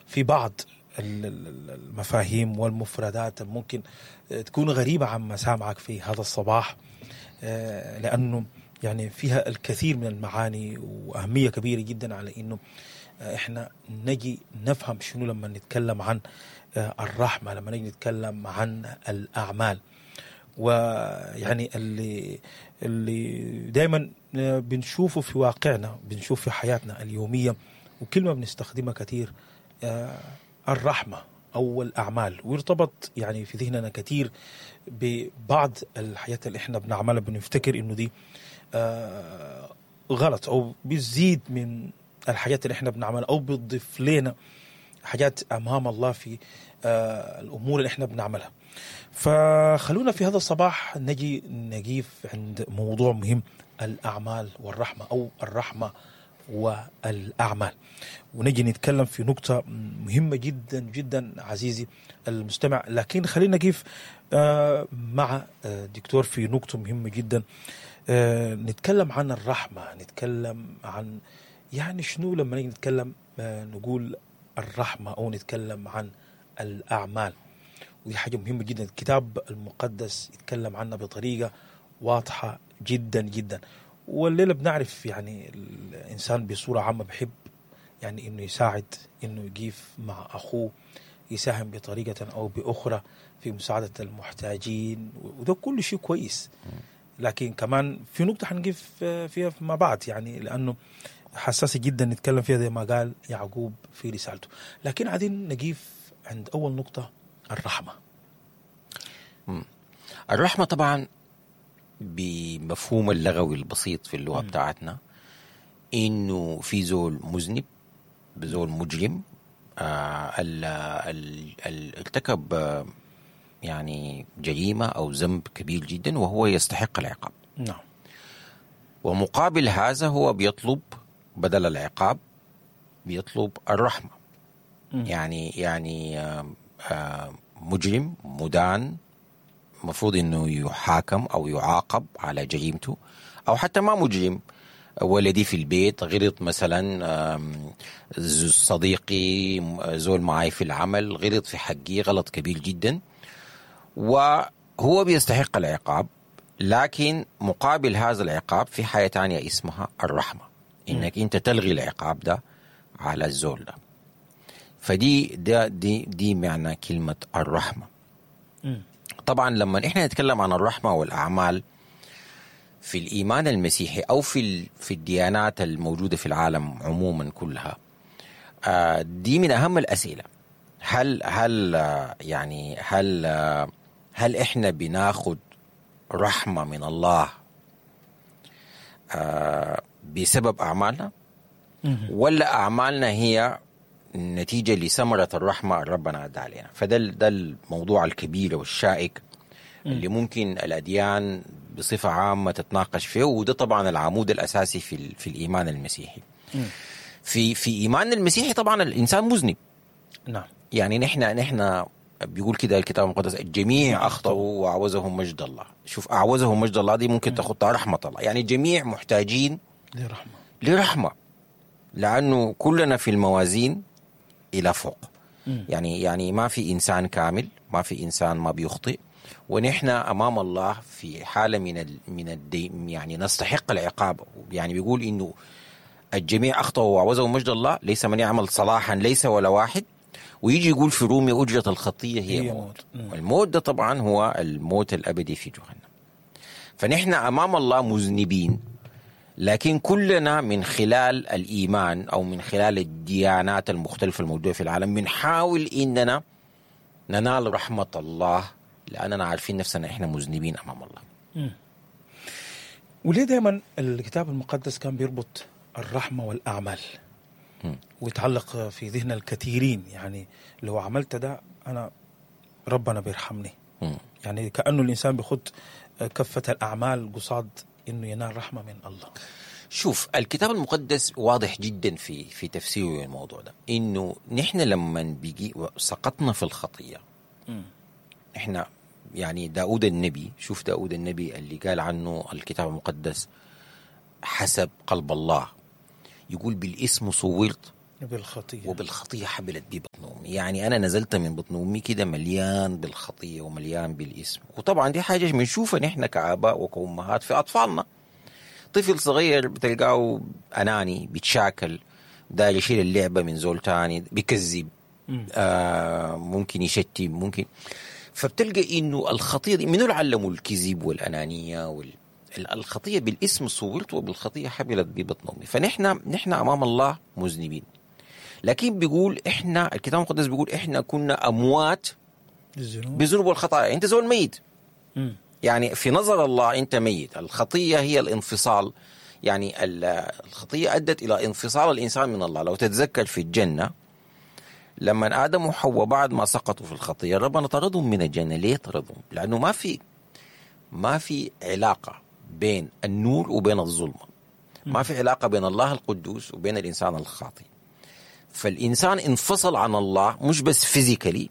في بعض المفاهيم والمفردات ممكن تكون غريبة عن مسامعك في هذا الصباح، لأنه يعني فيها الكثير من المعاني وأهمية كبيرة جدا على إنه إحنا نجي نفهم شنو لما نتكلم عن الرحمة، لما نجي نتكلم عن الأعمال. ويعني اللي دايما بنشوفه في واقعنا، بنشوف في حياتنا اليومية، وكلمة بنستخدمها كثير، الرحمة أو الأعمال، ويرتبط يعني في ذهننا كثير ببعض الحاجات اللي احنا بنعملها، بنفتكر انه دي غلط او بتزيد من الحاجات اللي احنا بنعملها او بتضيف لنا حاجات امام الله في الامور اللي احنا بنعملها. فخلونا في هذا الصباح نجي نقيف عند موضوع مهم، الاعمال والرحمة او الرحمة والاعمال، ونجي نتكلم في نقطة مهمة جدا جدا عزيزي المستمع. لكن خلينا نقف مع دكتور في نقطة مهمة جدا، نتكلم عن الرحمة، نتكلم عن يعني شنو لما نيجي نتكلم نقول الرحمة أو نتكلم عن الأعمال. ودي حاجة مهمة جدا، الكتاب المقدس يتكلم عنها بطريقة واضحة جدا جدا. والليلة بنعرف يعني الإنسان بصورة عامة بحب يعني إنه يساعد، إنه يقيف مع أخوه، يساهم بطريقة أو بأخرى في مساعدة المحتاجين، وده كل شيء كويس. لكن كمان في نقطة حنقف فيها مع بعض، يعني لأنه حساسة جدا نتكلم فيها زي ما قال يعقوب في رسالته. لكن عايزين نقيف عند أول نقطة، الرحمة. الرحمة طبعا بمفهوم اللغوي البسيط في اللغة بتاعتنا، إنه في زول مذنب، زول مجرم، ارتكب يعني جريمة أو ذنب كبير جدا وهو يستحق العقاب. نعم. ومقابل هذا هو بيطلب بدل العقاب بيطلب الرحمة. يعني مجرم مدان مفروض انه يحاكم او يعاقب على جريمته، او حتى ما مجرم، ولدي في البيت غلط مثلا، صديقي زول معي في العمل غلط في حقي غلط كبير جدا وهو بيستحق العقاب، لكن مقابل هذا العقاب في حاجة تانية اسمها الرحمة، انك انت تلغي العقاب ده على الزول ده. فدي ده دي دي معنى كلمة الرحمة. طبعا لما احنا نتكلم عن الرحمة والأعمال في الإيمان المسيحي أو في الديانات الموجودة في العالم عموما كلها، دي من أهم الأسئلة. هل هل يعني هل هل احنا بناخد رحمة من الله بسبب أعمالنا، ولا أعمالنا هي نتيجة لثمرة الرحمة ربنا أدى علينا؟ فده ده الموضوع الكبير والشائك اللي ممكن الأديان بصفة عامة تتناقش فيه، وده طبعا العمود الأساسي في الإيمان المسيحي. في إيمان المسيحي طبعا الإنسان مذنب. نعم. يعني نحن بيقول كده الكتاب المقدس، الجميع أخطأوا وأعوزهم مجد الله. شوف، أعوزهم مجد الله دي ممكن تاخدها رحمة الله، يعني الجميع محتاجين لرحمة، لأنه كلنا في الموازين إلى فوق. يعني ما في إنسان كامل، ما في إنسان ما بيخطئ، ونحن أمام الله في حالة من يعني نستحق العقاب. يعني بيقول إنه الجميع أخطأوا وعوزهم مجد الله، ليس من يعمل صلاحا ليس ولا واحد. ويجي يقول في رومية أجرة الخطية هي موت. والموت ده طبعا هو الموت الأبدي في جهنم. فنحن أمام الله مذنبين، لكن كلنا من خلال الإيمان أو من خلال الديانات المختلفة الموجودة في العالم بنحاول إننا ننال رحمة الله، لأننا عارفين نفسنا إحنا مذنبين أمام الله. وليه دايما الكتاب المقدس كان بيربط الرحمة والأعمال ويتعلق في ذهن الكثيرين؟ يعني لو عملت ده أنا ربنا بيرحمني. يعني كأنه الإنسان بيخد كفة الأعمال قصاد إنه ينال رحمة من الله. شوف، الكتاب المقدس واضح جدا في تفسيره الموضوع ده، إنه نحن لما بيجي سقطنا في الخطية، إحنا يعني داود النبي، شوف داود النبي اللي قال عنه الكتاب المقدس حسب قلب الله، يقول بالاسم صورت بالخطية. وبالخطية حبلت بي بطن أمي. يعني أنا نزلت من بطن أمي كده مليان بالخطية ومليان بالإسم. وطبعا دي حاجة بنشوفها نحن كآباء وكأمهات في أطفالنا. طفل صغير بتلقاه أناني، بيتشاكل، داير يشيل اللعبة من زول تاني، بيكذب، ممكن يشتم، ممكن. فبتلقى إنه الخطية دي منو اللي علموا الكذب والأنانية الخطية بالاسم صورت وبالخطية حبلت ببطن أمي. فنحن أمام الله مذنبين، لكن بيقول إحنا الكتاب المقدس بيقول إحنا كنا أموات بالذنوب والخطايا. أنت زول ميت، يعني في نظر الله أنت ميت. الخطية هي الانفصال، يعني الخطية أدت إلى انفصال الإنسان من الله. لو تتذكر في الجنة لما آدم وحواء بعد ما سقطوا في الخطية ربنا طردهم من الجنة. ليه طردهم؟ لأنه ما في علاقة بين النور وبين الظلمة، ما في علاقة بين الله القدوس وبين الإنسان الخاطئ. فالإنسان انفصل عن الله، مش بس physically،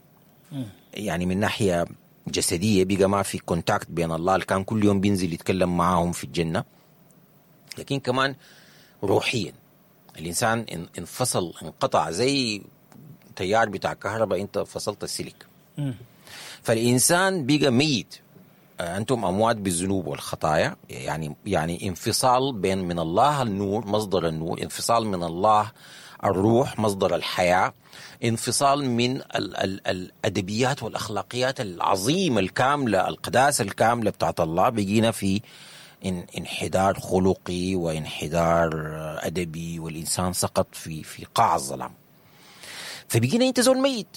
يعني من ناحية جسدية بقى ما في contact بين الله اللي كان كل يوم بينزل يتكلم معاهم في الجنة، لكن كمان روحيا الإنسان انفصل، انقطع زي تيار بتاع كهرباء، انت فصلت السلك. فالإنسان بقى ميت. أنتم أموات بالذنوب والخطايا، يعني انفصال بين من الله النور مصدر النور، انفصال من الله الروح مصدر الحياة، انفصال من الأدبيات والأخلاقيات العظيمة الكاملة، القداسة الكاملة بتاعت الله. بقينا في انحدار خلقي وانحدار أدبي، والإنسان سقط في قاع الظلام. فبقينا أنت زول ميت.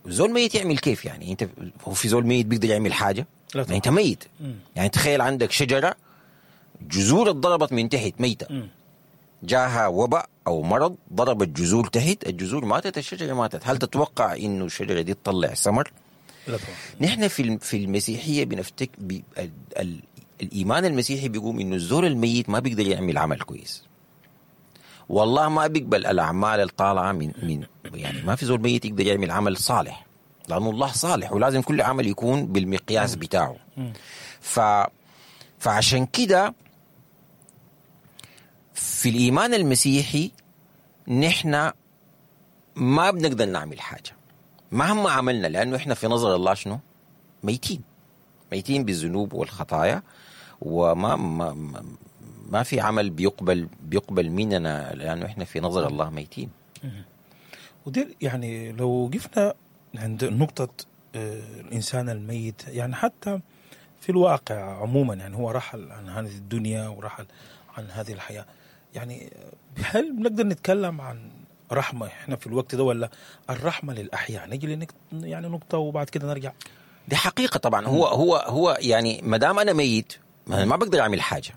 زول ميت يعمل كيف يعني؟ أنت هو في زول ميت بيقدر يعمل حاجة؟ لا طبعا. أنت ميت. يعني تخيل عندك شجرة جذور اتضربت من تحت ميتة، جاها وباء أو مرض ضرب الجذور تحت، الجذور ماتت، الشجرة ماتت. هل تتوقع إنه الشجرة دي تطلع ثمر؟ لا طبعا. نحن في المسيحية بنفتك الإيمان المسيحي بيقوم إنه الزول الميت ما بيقدر يعمل عمل كويس، والله ما بيقبل الأعمال الطالعة من يعني ما في زول ميت يقدر يعمل عمل صالح، لأنه الله صالح ولازم كل عمل يكون بالمقياس بتاعه. فعشان كده في الإيمان المسيحي نحن ما بنقدر نعمل حاجة مهما عملنا، لأنه إحنا في نظر الله شنو؟ ميتين، ميتين بالذنوب والخطايا، وما ما ما في عمل بيقبل مننا، لأنه إحنا في نظر الله ميتين. ودي يعني لو وقفنا عند نقطة الإنسان الميت، يعني حتى في الواقع عموما، يعني هو رحل عن هذه الدنيا ورحل عن هذه الحياة، يعني هل بنقدر نتكلم عن رحمة احنا في الوقت ده، ولا الرحمة للأحياء؟ نجي يعني نقطة وبعد كده نرجع. دي حقيقة طبعا. هو هو هو يعني ما دام أنا ميت ما بقدر أعمل حاجة،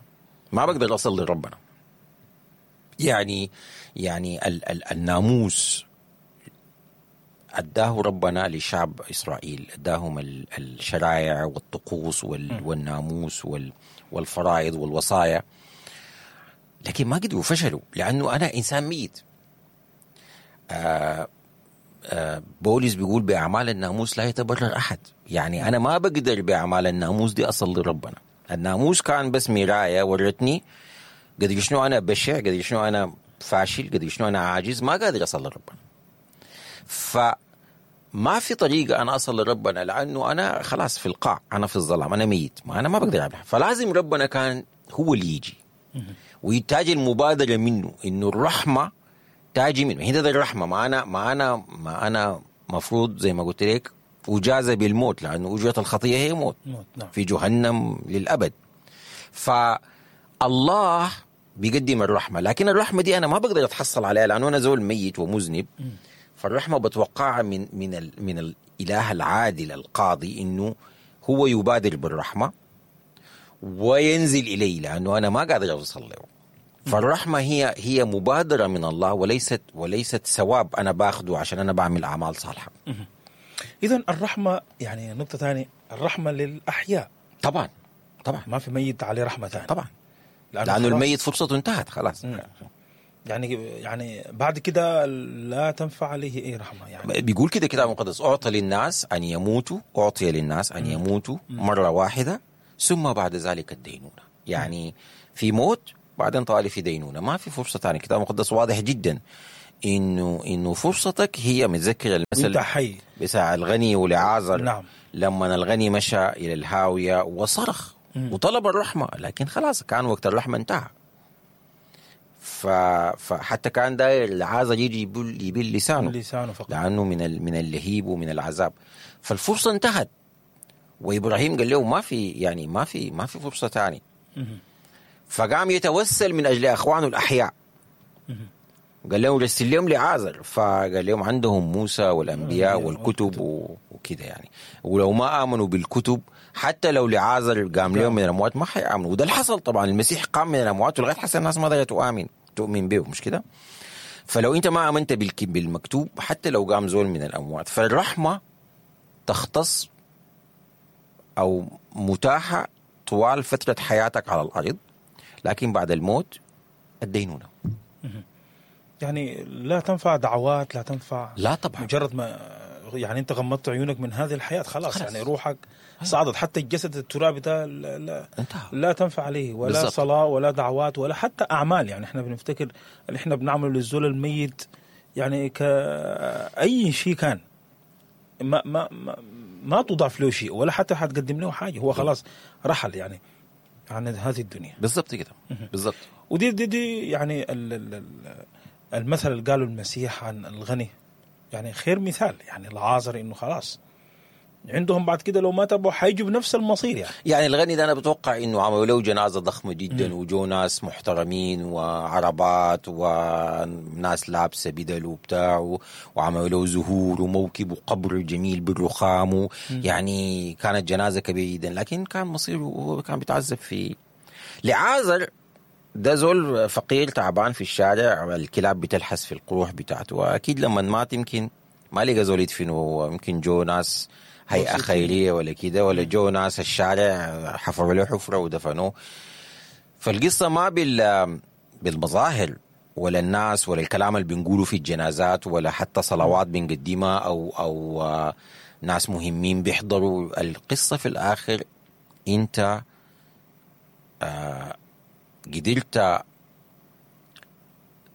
ما بقدر أصل لربنا. يعني الناموس أداه ربنا لشعب إسرائيل، أداهم الشرائع والطقوس والناموس والفرائض والوصايا، لكن ما قدروا، فشلوا، لأنه أنا إنسان ميت. بولس بيقول بأعمال الناموس لا يتبرر أحد. يعني أنا ما بقدر بأعمال الناموس دي أصل لربنا. الناموس كان بس مراية ورتني قد شنو أنا بشع، قد شنو أنا فاشل، قد شنو أنا عاجز، ما قادر أصل لربنا. فما في طريقة أنا أصل لربنا، لأنه أنا خلاص في القاع، أنا في الظلام، أنا ميت، ما أنا ما بقدر أعمل. فلازم ربنا كان هو اللي يجي ويتاج المبادرة منه، إنه الرحمة تاجي منه. هنا ده الرحمة. ما أنا مفروض زي ما قلت لك أجازة بالموت، لأنه أجرة الخطية هي موت، نعم. في جهنم للأبد. فالله بيقدم الرحمة، لكن الرحمة دي أنا ما بقدر أتحصل عليها لأنه أنا زول ميت ومذنب. فالرحمة بتوقعها من الإله العادل القاضي، إنه هو يبادر بالرحمة وينزل إلي، لأنه أنا ما قادر أوصل له. فالرحمة هي مبادرة من الله، وليست ثواب أنا باخده عشان أنا بعمل أعمال صالحة. إذن الرحمة يعني نقطة ثانية، الرحمة للأحياء. طبعا طبعا، ما في ميت عليه رحمة ثانية. طبعا، لأنه الميت فرصته انتهت خلاص. يعني بعد كده لا تنفع عليه أي رحمة. يعني بيقول كده كتاب المقدس، أعطي للناس أن يموتوا، أعطي للناس أن يموتوا مرة واحدة ثم بعد ذلك الدينونة. يعني في موت بعدين طالي في دينونة، ما في فرصة ثانية. الكتاب المقدس واضح جدا انه فرصتك هي، متذكر المثل حي بتاع الغني ولعازر. نعم. لما الغني مشى الى الهاوية وصرخ وطلب الرحمة، لكن خلاص كان وقت الرحمة انتهى. فحتى كان داير لعازر يجي يبل لسانه فقط، لانه من اللهيب ومن العذاب. فالفرصه انتهت، وابراهيم قال له ما في، يعني ما في فرصة ثانية. فقام يتوسل من اجل اخوانه الاحياء، قال لهم رسل لهم لعازر، فقال لهم عندهم موسى والانبياء والكتب وكده يعني، ولو ما امنوا بالكتب حتى لو لعازر قام لهم من الاموات ما حيامنوا. وده اللي حصل طبعا، المسيح قام من الاموات ولغاية حسن الناس ما قدرت تؤمن به، مش كده؟ فلو انت ما امنت بالمكتوب حتى لو قام زول من الاموات. فالرحمه تختص او متاحة طوال فترة حياتك على الارض، لكن بعد الموت الدينونة. يعني لا تنفع دعوات، لا تنفع، لا طبعا. مجرد ما يعني انت غمضت عيونك من هذه الحياة خلاص. يعني روحك صعدت، حتى الجسد الترابي ده لا تنفع عليه ولا بالزبط. صلاة ولا دعوات ولا حتى أعمال. يعني احنا بنفتكر اللي احنا بنعمله للزول الميت يعني كأي شيء كان ما ما ما, ما تضاف له شيء ولا حتى حتقدم له حاجة، هو خلاص رحل يعني عن هذه الدنيا. بالضبط كده، بالضبط. ودي دي دي يعني المثل اللي قاله المسيح عن الغني يعني خير مثال، يعني العازر انه خلاص عندهم بعد كده لو ما تبوا حيجوا بنفس المصير. يعني الغني ده انا بتوقع انه عملوا له جنازه ضخمة جدا، وجو ناس محترمين وعربات وناس لابسه بدل وبتاع، وعملوا له زهور وموكب وقبر جميل بالرخام، يعني كانت جنازه كبيرة جدا، لكن كان مصيره هو كان بيتعذب في لعازر. ده زول فقير تعبان في الشارع، الكلاب بتلحس في القروح بتاعته، واكيد لما مات يمكن ما لقى زول يدفنه، يمكن جو ناس هيئة خيرية ولا كده، ولا جو ناس الشارع حفروا له حفرة ودفنوه. فالقصة ما بالمظاهر ولا الناس ولا الكلام اللي بنقوله في الجنازات ولا حتى صلوات بنقدمها أو ناس مهمين بيحضروا. القصة في الآخر أنت قدرت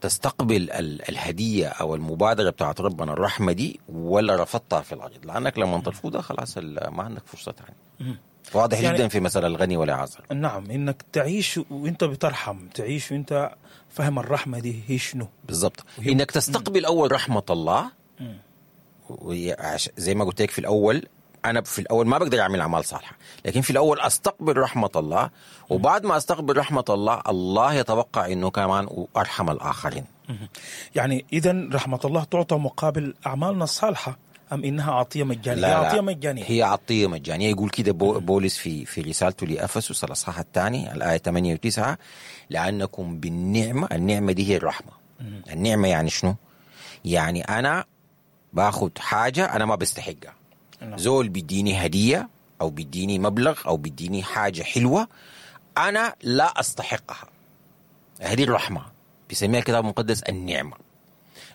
تستقبل الهدية أو المبادرة بتاعت ربنا الرحمة دي ولا رفضتها في الأرض، لأنك لما ترفضها خلاص ما عندك فرصة ثانية. واضح يعني جدا في مثل الغني والعازر. نعم، إنك تعيش وإنت بترحم، تعيش وإنت فهم الرحمة دي هي شنو بالضبط. إنك تستقبل أول رحمة الله، زي ما قلت لك في الأول، أنا في الأول ما بقدر أعمل أعمال صالحة، لكن في الأول أستقبل رحمة الله، وبعد ما أستقبل رحمة الله، الله يتوقع إنه كمان أرحم الآخرين. يعني إذن رحمة الله تعطى مقابل أعمالنا الصالحة أم إنها عطية مجانية؟ لا، هي عطية مجانية. هي عطية مجانية. يقول كده بولس في رسالته لأفسس الأصحاح الثاني الآية 8 و9، لأنكم بالنعمة، النعمة دي هي الرحمة. النعمة يعني شنو؟ يعني أنا باخد حاجة أنا ما بستحقها. زول بيديني هدية أو بيديني مبلغ أو بيديني حاجة حلوة أنا لا أستحقها. هذه الرحمة بيسميها الكتاب المقدس النعمة.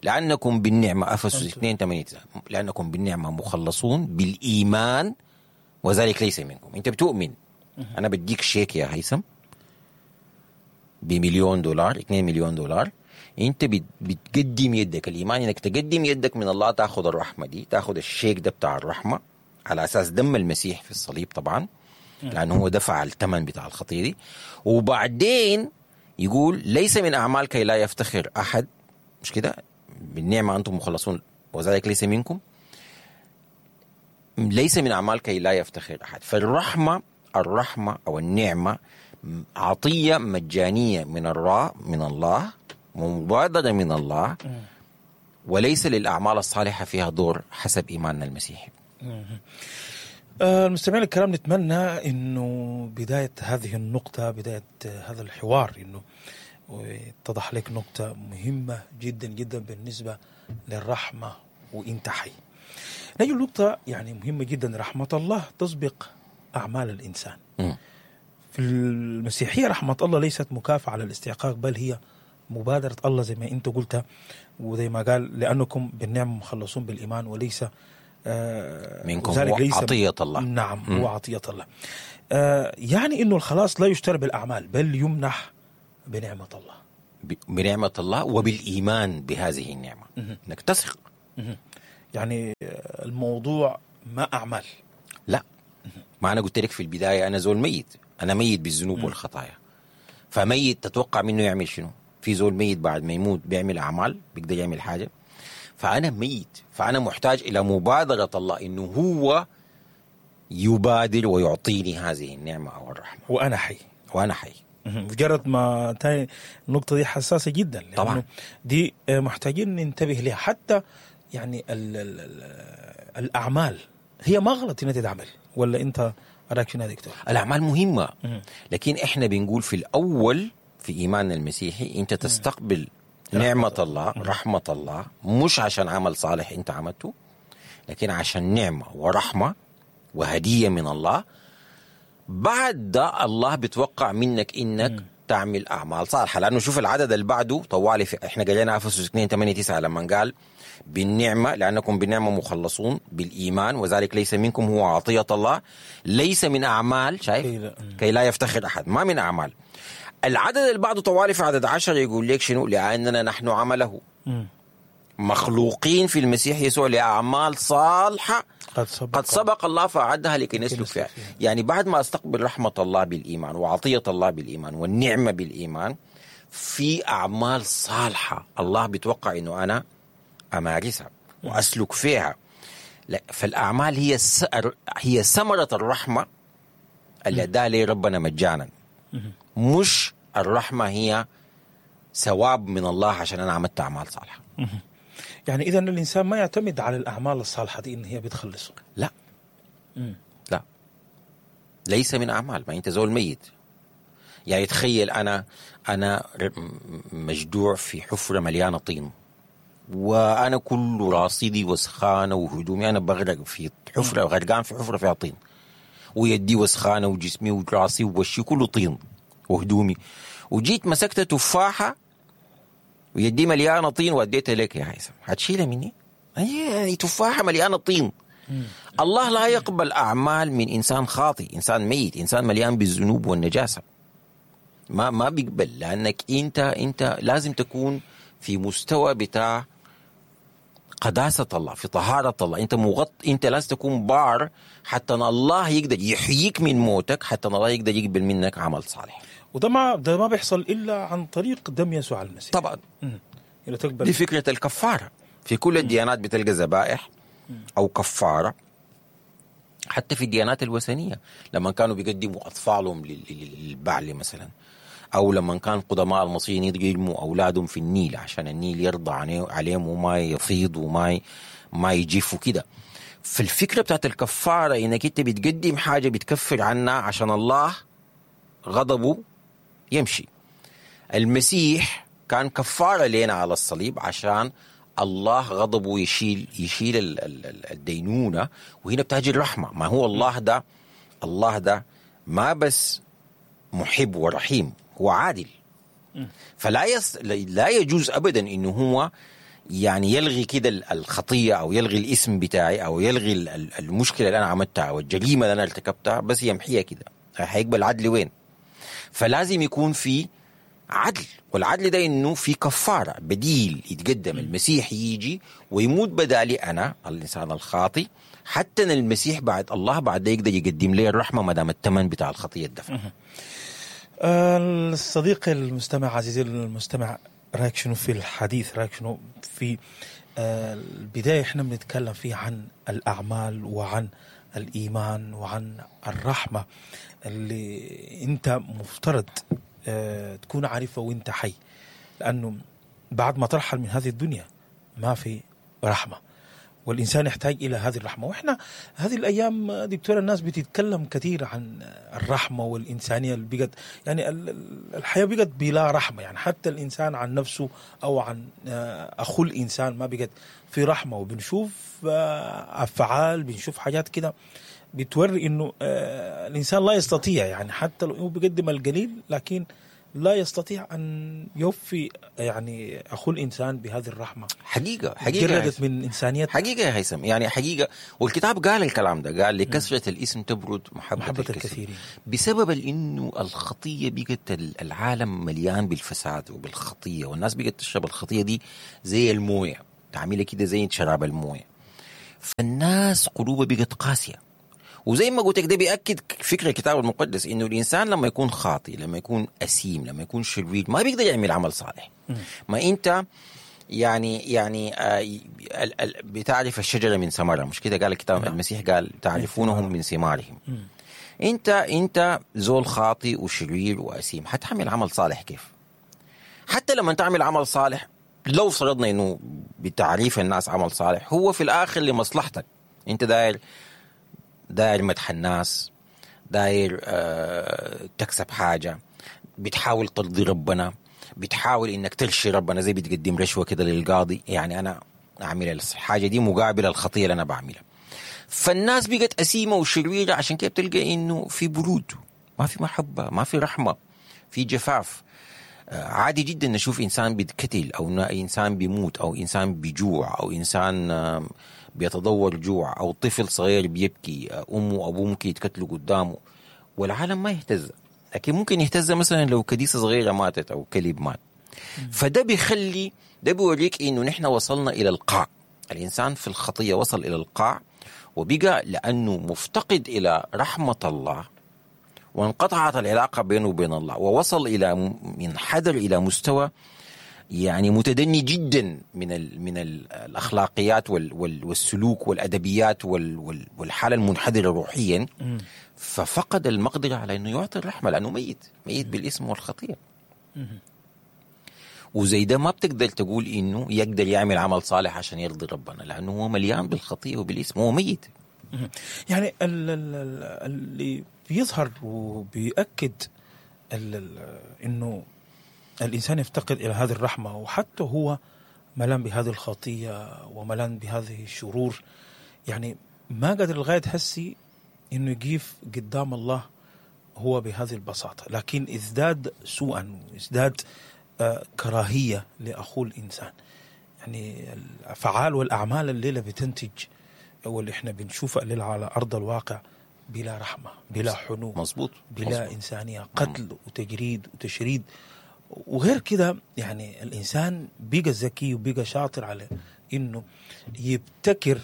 لأنكم بالنعمة، أفسس 2:8، لأنكم بالنعمة مخلصون بالإيمان وذلك ليس منكم. أنت بتؤمن، أنا بديك شيك يا هيثم $1,000,000، $2,000,000، انت بتقدم يدك. الايمان انك تقدم يدك من الله، تاخذ الرحمة دي، تاخذ الشيك ده بتاع الرحمة على اساس دم المسيح في الصليب طبعا، لانه هو دفع الثمن بتاع الخطية دي. وبعدين يقول ليس من اعمال كي لا يفتخر احد، مش كده؟ بالنعمة انتم مخلصون وذلك ليس منكم، ليس من اعمال كي لا يفتخر احد. فالرحمه، الرحمة او النعمة عطية مجانية من من الله، ومبادرة من الله، وليس للأعمال الصالحة فيها دور حسب إيماننا المسيحي. المستمعين الكرام، نتمنى أنه بداية هذه النقطة، بداية هذا الحوار، أنه اتضح لك نقطة مهمة جدا جدا بالنسبة للرحمة وإنت حي. نجي نقطة يعني مهمة جدا، رحمة الله تسبق أعمال الإنسان. في المسيحية رحمة الله ليست مكافأة على الاستحقاق، بل هي مبادرة الله زي ما أنت قلت وزي ما قال، لأنكم بالنعمة مخلصون بالإيمان وليس منكم، هو ليس عطية الله. نعم، هو عطية الله. يعني إنه الخلاص لا يشترى بالأعمال بل يمنح بنعمة الله. بنعمة الله وبالإيمان بهذه النعمة، إنك تثق. يعني الموضوع ما أعمال. لا، ما أنا قلت لك في البداية أنا زول ميت، أنا ميت بالذنوب والخطايا. فميت تتوقع منه يعمل شنو؟ في زول ميت بعد ما يموت بيعمل أعمال؟ بيقدر يعمل حاجة؟ فأنا ميت، فأنا محتاج إلى مبادرة الله، إنه هو يبادر ويعطيني هذه النعمة أو الرحمة. وأنا حي. وأنا حي. مجرد ما تاني النقطة دي حساسة جدا، طبعا دي محتاجين ننتبه لها. حتى يعني ال ال ال الأعمال هي ما غلط إنها تتعمل، ولا أنت رأيك شنو يا دكتور؟ الأعمال مهمة، لكن إحنا بنقول في الأول في إيماننا المسيحي أنت تستقبل نعمة الله، رحمة الله، مش عشان عمل صالح أنت عملته، لكن عشان نعمة ورحمة وهدية من الله. بعد ده الله بتوقع منك إنك تعمل أعمال صالحة، لأنه شوف العدد اللي بعده طوالي، إحنا قرينا أفسس 2:8-9 لما قال بالنعمة، لأنكم بالنعمة مخلصون بالإيمان وذلك ليس منكم هو عطية الله ليس من أعمال، شايف، كي لا يفتخر أحد، ما من أعمال. العدد اللي بعده طوالي في عدد 10 يقول لك شنو؟ لأننا نحن عمله مخلوقين في المسيح يسوع لأعمال صالحة قد سبق الله فأعدها لكي نسلك فيها. يعني بعد ما أستقبل رحمة الله بالإيمان وعطية الله بالإيمان والنعمة بالإيمان، في أعمال صالحة الله بيتوقع إنه أنا أمارسها وأسلك فيها. فالأعمال هي ثمرة الرحمة اللي أداها لي ربنا مجانا، مش الرحمة هي ثواب من الله عشان أنا عملت أعمال صالحة. يعني إذا الإنسان ما يعتمد على الأعمال الصالحة دي إن هي بتخلصه. لا. لا، ليس من أعمال، ما أنت زول ميت. يعني تخيل أنا مجدوع في حفرة مليانة طين، وأنا كل رصيدي وسخانة وهدومي، أنا بغرق في حفرة، غرقان في حفرة فيها طين، ويدي وسخانة وجسمي وراسي ووشي كله طين وهدومي، وجيت مسكت تفاحة ويدي مليانة طين واديتها لك يا هيثم، هتشيلها مني؟ هي تفاحة مليانة طين. الله لا يقبل أعمال من إنسان خاطئ، إنسان ميت، إنسان مليان بالذنوب والنجاسة. ما بيقبل، لأنك أنت لازم تكون في مستوى بتاع قداسة الله، في طهارة الله. أنت أنت لازم تكون بار حتى الله يقدر يحييك من موتك، حتى الله يقدر يقبل منك عمل صالح. وده ما بيحصل إلا عن طريق دم يسوع المسيح. طبعا. دي فكرة الكفارة. في كل الديانات بتلقى ذبائح أو كفارة، حتى في الديانات الوثنية لما كانوا بيقدموا أطفالهم للبعل مثلا، أو لما كان قدماء المصريين يرموا أولادهم في النيل عشان النيل يرضى عليهم وما يفيض وما ما يجف وكده. فالفكرة بتاعت الكفارة إنك أنت بتقدم حاجة بتكفر عنها عشان الله غضبه يمشي. المسيح كان كفارة لنا على الصليب عشان الله غضبه يشيل الدينونة، وهنا بتاجي الرحمة. ما هو الله ده، الله ده ما بس محب ورحيم، هو عادل. فلا لا يجوز أبدا إنه هو يعني يلغي كده الخطية أو يلغي الاسم بتاعي أو يلغي المشكلة اللي أنا عملتها أو الجريمة اللي أنا ارتكبتها، بس يمحيها كده. هيقبل عدل وين؟ فلازم يكون في عدل، والعدل ده إنه في كفارة بديل يتقدم. المسيح يجي ويموت بدالي أنا الإنسان الخاطي، حتى أن المسيح بعد الله بعد يقدر يقدم لي الرحمة ما دام الثمن بتاع الخطية الدفع. الصديق المستمع، عزيزي المستمع، رأيك شنو في الحديث؟ رأيك شنو في البداية؟ احنا بنتكلم فيه عن الأعمال وعن الإيمان وعن الرحمة اللي أنت مفترض تكون عارفة وانت حي، لأنه بعد ما ترحل من هذه الدنيا ما في رحمة، والإنسان يحتاج إلى هذه الرحمة. وإحنا هذه الأيام دكتور الناس بتتكلم كثير عن الرحمة والإنسانية اللي بقت، يعني الحياة بقت بلا رحمة، يعني حتى الإنسان عن نفسه أو عن أخو الإنسان ما بقت في رحمة. وبنشوف أفعال، بنشوف حاجات كده بتوري إنه الإنسان لا يستطيع، يعني حتى لو بيقدم القليل لكن لا يستطيع أن يوفي يعني أخو الإنسان بهذه الرحمة. حقيقة حقيقة جردت من إنسانيته حقيقة يا هيثم، يعني حقيقة. والكتاب قال الكلام ده، قال لكثرة الاسم تبرد محبة الكثيرين، بسبب إنه الخطية بقت العالم مليان بالفساد وبالخطية، والناس بقت تشرب الخطية دي زي الموية، تعملها كده زي شراب الموية، فالناس قلوبها بقت قاسية. وزي ما قلت لك ده بيأكد فكرة الكتاب المقدس إنه الإنسان لما يكون خاطئ، لما يكون أسيم، لما يكون شرير، ما بيقدر يعمل عمل صالح. ما أنت يعني بتعرف الشجرة من ثمرها، مش كده قال الكتاب؟ المسيح قال تعرفونهم من ثمارهم. أنت زول خاطئ وشرير وأسيم، حتعمل عمل صالح كيف؟ حتى لما تعمل عمل صالح، لو فرضنا إنه بتعريف الناس عمل صالح، هو في الآخر لمصلحتك. أنت داير مدح الناس، داير تكسب حاجة، بتحاول ترضي ربنا، بتحاول إنك ترشي ربنا، زي بتقدم رشوة كده للقاضي، يعني أنا أعمل الحاجة دي مقابل الخطية اللي أنا بعملها. فالناس بقت أسيمة وشريرة، عشان كده بتلقى إنه في برود، ما في محبة، ما في رحمة، في جفاف. عادي جدا نشوف إنسان بيتقتل، أو إنسان بيموت، أو إنسان بيجوع، أو إنسان بيتضور جوع، أو طفل صغير بيبكي، أمه وأبوه ممكن يتقتلوا قدامه، والعالم ما يهتز. لكن ممكن يهتز مثلا لو كديسة صغيرة ماتت أو كلب مات. فده بيخلي، ده بيوريك إنه نحن وصلنا إلى القاع. الإنسان في الخطية وصل إلى القاع، وبقى لأنه مفتقد إلى رحمة الله، وانقطعت العلاقة بينه وبين الله، ووصل إلى منحدر إلى مستوى يعني متدني جدا من الأخلاقيات والسلوك والأدبيات والحالة المنحدرة روحيا. ففقد المقدرة على أنه يعطي الرحمة، لأنه ميت بالإثم والخطية. وزي ده ما بتقدر تقول إنه يقدر يعمل عمل صالح عشان يرضي ربنا، لأنه هو مليان بالخطية وبالإثم، هو ميت. يعني اللي بيظهر وبيأكد إنه الإنسان يفتقد إلى هذه الرحمة، وحتى هو ملان بهذه الخطية وملان بهذه الشرور، يعني ما قدر لغاية هسي إنه يقف قدام الله هو بهذه البساطة، لكن ازداد سوءا وازداد كراهية لأخوه الإنسان. يعني الأفعال والأعمال الليلة بتنتج واللي إحنا بنشوفها الليلة على أرض الواقع بلا رحمة، بلا حنو، مظبوط، بلا مظبوط. إنسانية، قتل وتجريد وتشريد وغير كده. يعني الإنسان بيقى ذكي وبيقى شاطر على إنه يبتكر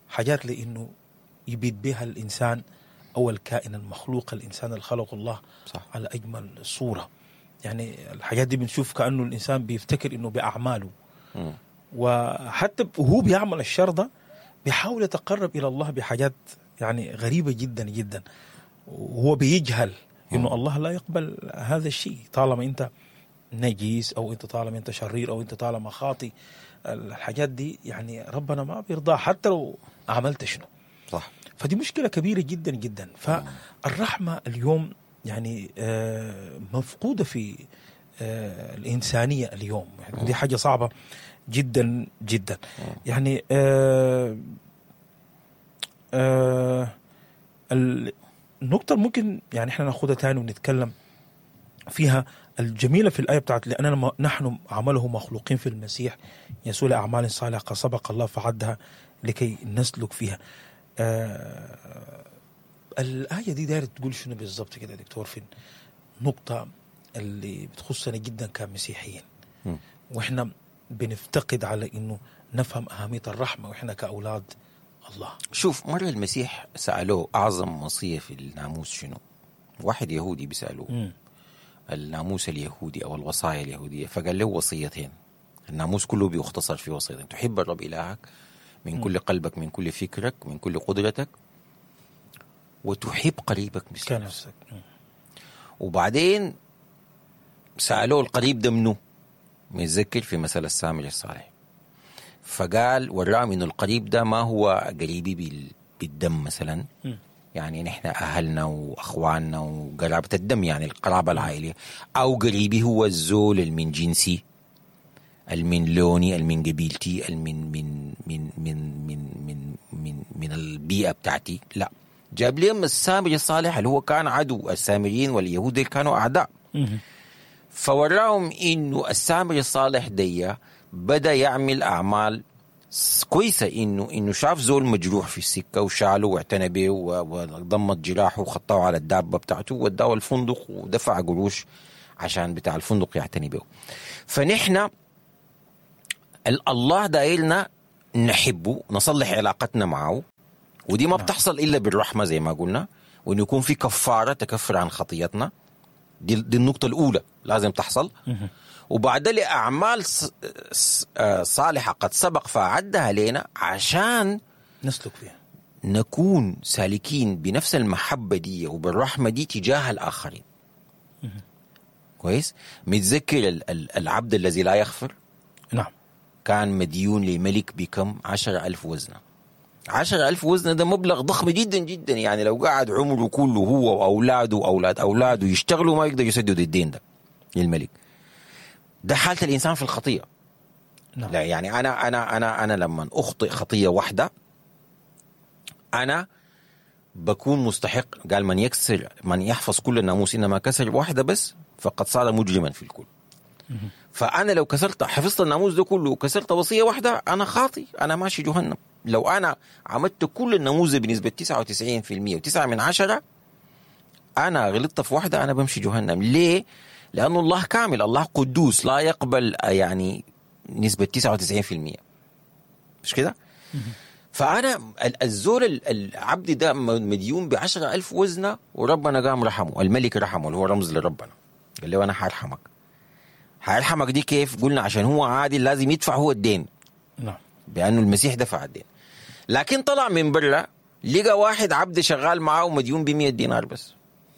حاجات لإنه يبيد بها الإنسان أو الكائن المخلوق، الإنسان اللي خلقه الله صح. على أجمل صورة. يعني الحاجات دي بنشوف كأنه الإنسان بيفتكر إنه بأعماله، وحتى وهو بيعمل الشر ده بيحاول يتقرب إلى الله بحاجات يعني غريبة جدا جدا، وهو بيجهل إنه الله لا يقبل هذا الشيء. طالما أنت نجيس أو أنت طالما أنت شرير أو أنت طالما خاطي، الحاجات دي يعني ربنا ما بيرضاها حتى لو عملت شنو. صح. فدي مشكلة كبيرة جدا جدا. فالرحمة اليوم يعني مفقودة في الإنسانية اليوم، يعني دي حاجة صعبة جدا جدا. يعني النقطة ممكن يعني احنا ناخدها تاني ونتكلم فيها الجميلة في الآية بتاعت لأننا نحن عمله مخلوقين في المسيح يسوع لأعمال صالحة سبق الله فعدها لكي نسلك فيها. الآية دي دايرة تقول شنو بالضبط كده يا دكتور في النقطة اللي بتخصنا جدا كمسيحيين، وإحنا بنفتقد على إنه نفهم أهمية الرحمة وإحنا كأولاد الله. شوف، مرة المسيح سألوه أعظم وصية في الناموس شنو؟ واحد يهودي بيسألوه الناموس اليهودي أو الوصايا اليهودية، فقال له وصيتين. الناموس كله بيختصر في وصيتين: تحب الرب إلهك من كل قلبك، من كل فكرك، من كل قدرتك، وتحب قريبك مثل نفسك. وبعدين سألوه القريب ده منه، متذكر في مثل السامري الصالح، فقال والرغم إنه القريب ده ما هو قريبي بالدم مثلا، يعني نحن أهلنا وأخواننا وقرابة الدم، يعني القرابة العائلية، أو قريبي هو الزول من جنسي، المن لوني، المن قبيلتي، المن من من من من من من من البيئة بتاعتي. لا، جاب لهم السامري الصالح اللي هو كان عدو السامريين واليهود، كانوا أعداء. فوراهم انه السامري الصالح دي بدا يعمل اعمال كويسة، انه شاف زول مجروح في السكة وشاله واعتنى به وضمت جراحه وخطاه على الدابة بتاعته ووداه الفندق ودفع قروش عشان بتاع الفندق يعتني به. فنحن الله دايلنا نحبه، نصلح علاقتنا معه، ودي ما بتحصل الا بالرحمة زي ما قلنا، وانه يكون في كفارة تكفر عن خطيتنا. دي النقطة الاولى لازم تحصل. وبعد لأعمال صالحة قد سبق فأعدها لنا عشان نسلك فيها، نكون سالكين بنفس المحبة دي وبالرحمة دي تجاه الآخرين. كويس؟ متذكر العبد الذي لا يغفر؟ نعم. كان مديون لملك بكم؟ 10,000 وزنة. 10,000 وزنة ده مبلغ ضخم جدا جدا، يعني لو قعد عمره كله هو وأولاده وأولاد أولاده يشتغلوا ما يقدر يسددوا الدين ده للملك. ده حالة الإنسان في الخطية. نعم. لا يعني أنا أنا أنا أنا لما أخطئ خطية واحدة أنا بكون مستحق. قال من يكسر، من يحفظ كل الناموس إنما كسر واحدة بس فقد صار مجرما في الكل. فأنا لو كسرت، حفظت الناموس ده كله وكسرت وصية واحدة، أنا خاطي، أنا ماشي جهنم. لو أنا عملت كل الناموس بنسبة 99% و9 من 10، أنا غلطت في واحدة، أنا بمشي جهنم. ليه؟ لأنه الله كامل، الله قدوس، لا يقبل يعني نسبة 99%، مش كده؟ فأنا الزول العبد ده مديون ب10,000 وزنة، وربنا قام رحمه، الملك رحمه اللي هو رمز لربنا، قال له أنا حارحمك. حارحمك دي كيف؟ قلنا عشان هو عادل لازم يدفع هو الدين. نعم. بأنه المسيح دفع الدين. لكن طلع من برا لقى واحد عبد شغال معاه ومديون ب100 دينار بس،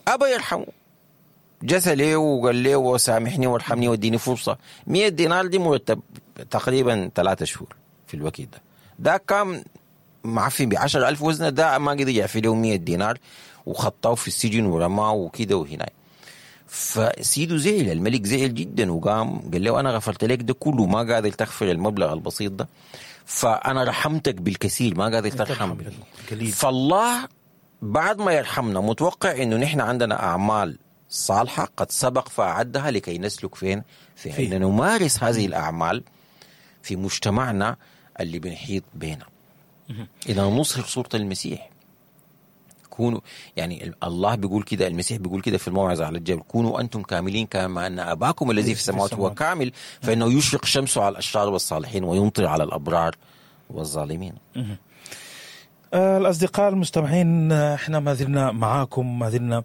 أبى يرحمه، جسى ليه وقال له وسامحني وارحمني واديني فرصة. 100 دينار دي مرتب تقريبا 3 شهور في الوقت ده. ده كان معفي ب10,000 وزنة، ده ما قدر يعفي له 100 دينار وخطاه في السجن ورماه وكده وهنا. فسيده زعل، الملك زعل جدا وقام قال له أنا غفرت لك ده كله، ما قادر تغفر المبلغ البسيط ده، فأنا رحمتك بالكثير ما قادر ترحم. فالله بعد ما يرحمنا متوقع إنه نحن عندنا أعمال صالحة قد سبق فأعدها لكي نسلك فين؟ في أن نمارس هذه الأعمال في مجتمعنا اللي بنحيط بينا. إذا نظهر صورة المسيح. كونوا، يعني الله بيقول كده، المسيح بيقول كده في الموعظة على الجبل، كونوا أنتم كاملين كما أن أباكم الذي في السماوات هو كامل، فإنه يشرق شمسه على الأشرار والصالحين ويمطر على الأبرار والظالمين. الأصدقاء المستمعين، احنا ما زلنا معاكم، ما زلنا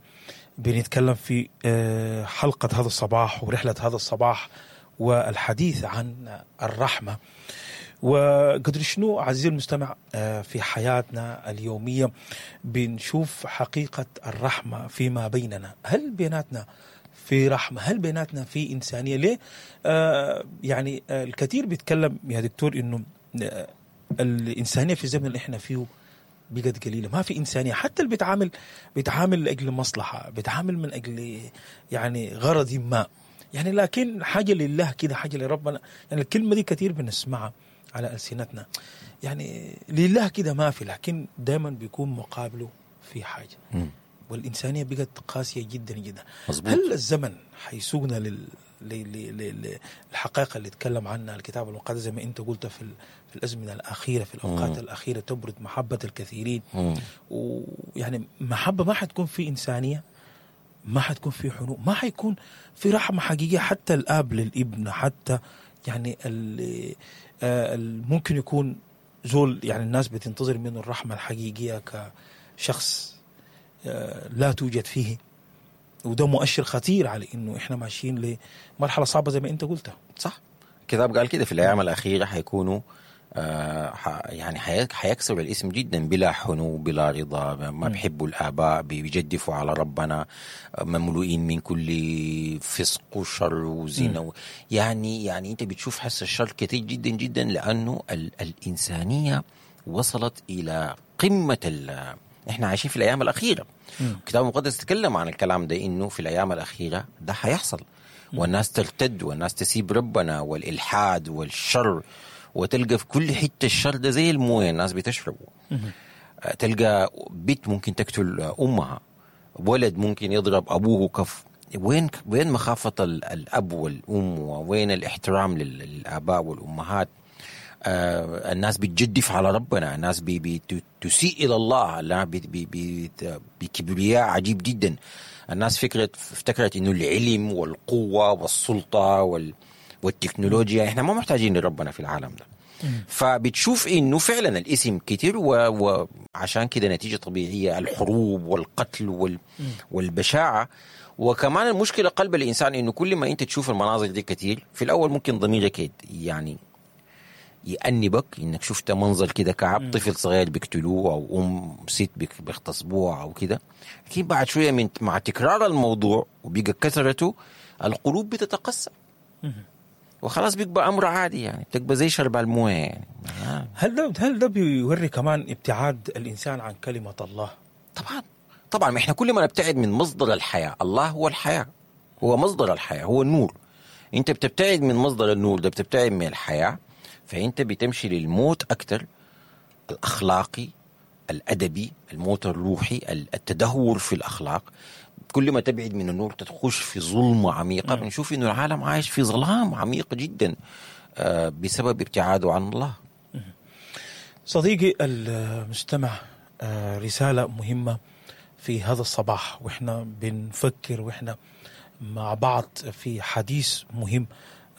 بنتكلم في حلقة هذا الصباح ورحلة هذا الصباح والحديث عن الرحمة وقدر شنو عزيزي المستمع في حياتنا اليومية بنشوف حقيقة الرحمة فيما بيننا. هل بيناتنا في رحمة؟ هل بيناتنا في إنسانية؟ ليه؟ يعني الكثير بيتكلم يا دكتور إنه الإنسانية في الزمن اللي احنا فيه بقت قليلة، ما في إنسانية. حتى اللي بيتعامل لأجل مصلحة، بيتعامل من أجل يعني غرض ما، يعني لكن حاجة لله كده، حاجة لربنا، يعني الكلمة دي كثير بنسمعها على ألسنتنا، يعني لله كده ما في، لكن دائما بيكون مقابله في حاجة. والإنسانية بقت قاسية جدا جدا. مزبوط. هل الزمن حيسوقنا للحقائق اللي تكلم عنها الكتاب المقدس زي ما أنت قلت في الأزمنة الأخيرة، في الأوقات الأخيرة تبرد محبة الكثيرين، ويعني محبة ما حتكون في إنسانية، ما حتكون في حنو، ما حيكون في رحمة حقيقية، حتى الآب للابن، حتى يعني ممكن يكون زول يعني الناس بتنتظر منه الرحمة الحقيقية كشخص لا توجد فيه، وده مؤشر خطير على انه احنا ماشيين لمرحلة صعبة زي ما انت قلتها. صح، الكتاب قال كده في الايام الاخيرة حيكونوا يعني حيكسر الاسم جدا، بلا حنو بلا رضا، ما بيحبوا الآباء، بيجدفوا على ربنا، مملوئين من كل فسق وشر وزنا. يعني انت بتشوف حس الشر كتير جدا جدا، لانه الانسانية وصلت الى قمة. احنا عايشين في الايام الاخيرة. الكتاب المقدس تكلم عن الكلام ده، انه في الايام الاخيرة ده حيحصل، والناس ترتد والناس تسيب ربنا والالحاد والشر، وتلقى في كل حتة الشر ده زي المويه الناس بتشربه. تلقى بنت ممكن تقتل امها، ولد ممكن يضرب ابوه كف. وين مخافة الأب والأم، وين الاحترام للآباء والأمهات؟ الناس بتجدف على ربنا، الناس بتسيء إلى الله بكبرياء عجيب جدا. الناس افتكرت إنه العلم والقوة والسلطة والتكنولوجيا، إحنا ما محتاجين لربنا في العالم ده. فبتشوف إنه فعلا الاسم كتير، وعشان كده نتيجة طبيعية الحروب والقتل والبشاعة. وكمان المشكلة قلب الإنسان إنه كل ما أنت تشوف المناظر دي كتير، في الأول ممكن ضميرك يعني يأنبك إنك شفت منظر كده كعب، طفل صغير بيقتلوه أو أم ست بيغتصبوها أو كده. لكن بعد شوية من مع تكرار الموضوع وبيبقى كثرته، القلوب بتتقسم وخلاص بيبقى أمر عادي، يعني بتبقى زي شرب المويه يعني. هل ده بيوري كمان ابتعاد الإنسان عن كلمة الله؟ طبعا طبعا، ما احنا كل ما نبتعد من مصدر الحياة، الله هو الحياة، هو مصدر الحياة، هو النور. انت بتبتعد من مصدر النور ده، بتبتعد من الحياة، فانت بتمشي للموت اكثر، الاخلاقي، الادبي، الموت الروحي، التدهور في الاخلاق. كل ما تبعد من النور تتخش في ظلمة عميقة. بنشوف انه العالم عايش في ظلام عميق جدا بسبب ابتعاده عن الله. صديقي المستمع، رسالة مهمة في هذا الصباح، وإحنا بنفكر وإحنا مع بعض في حديث مهم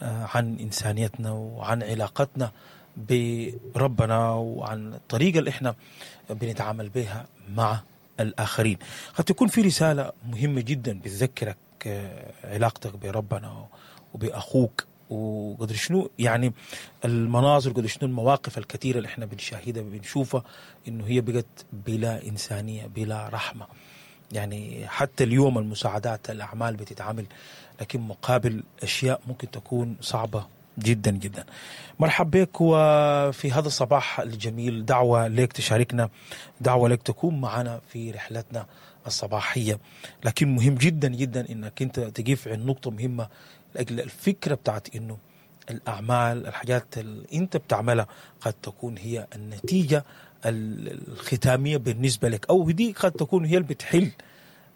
عن إنسانيتنا وعن علاقتنا بربنا وعن الطريقة اللي إحنا بنتعامل بها مع الآخرين. قد تكون في رسالة مهمة جدا بتذكرك علاقتك بربنا وبأخوك، وقدر شنو يعني المناظر، قدر شنو المواقف الكثيرة اللي احنا بنشاهدها بنشوفها انه هي بقت بلا إنسانية بلا رحمة. يعني حتى اليوم المساعدات الأعمال بتتعامل، لكن مقابل أشياء ممكن تكون صعبة جدا جدا. مرحب بك وفي هذا الصباح الجميل، دعوة لك تشاركنا، دعوة لك تكون معنا في رحلتنا الصباحية. لكن مهم جدا جدا انك انت تقف عند نقطة مهمة لأجل الفكرة بتاعت انه الأعمال، الحاجات اللي انت بتعملها قد تكون هي النتيجة الختامية بالنسبة لك، أو دي قد تكون هي اللي بتحل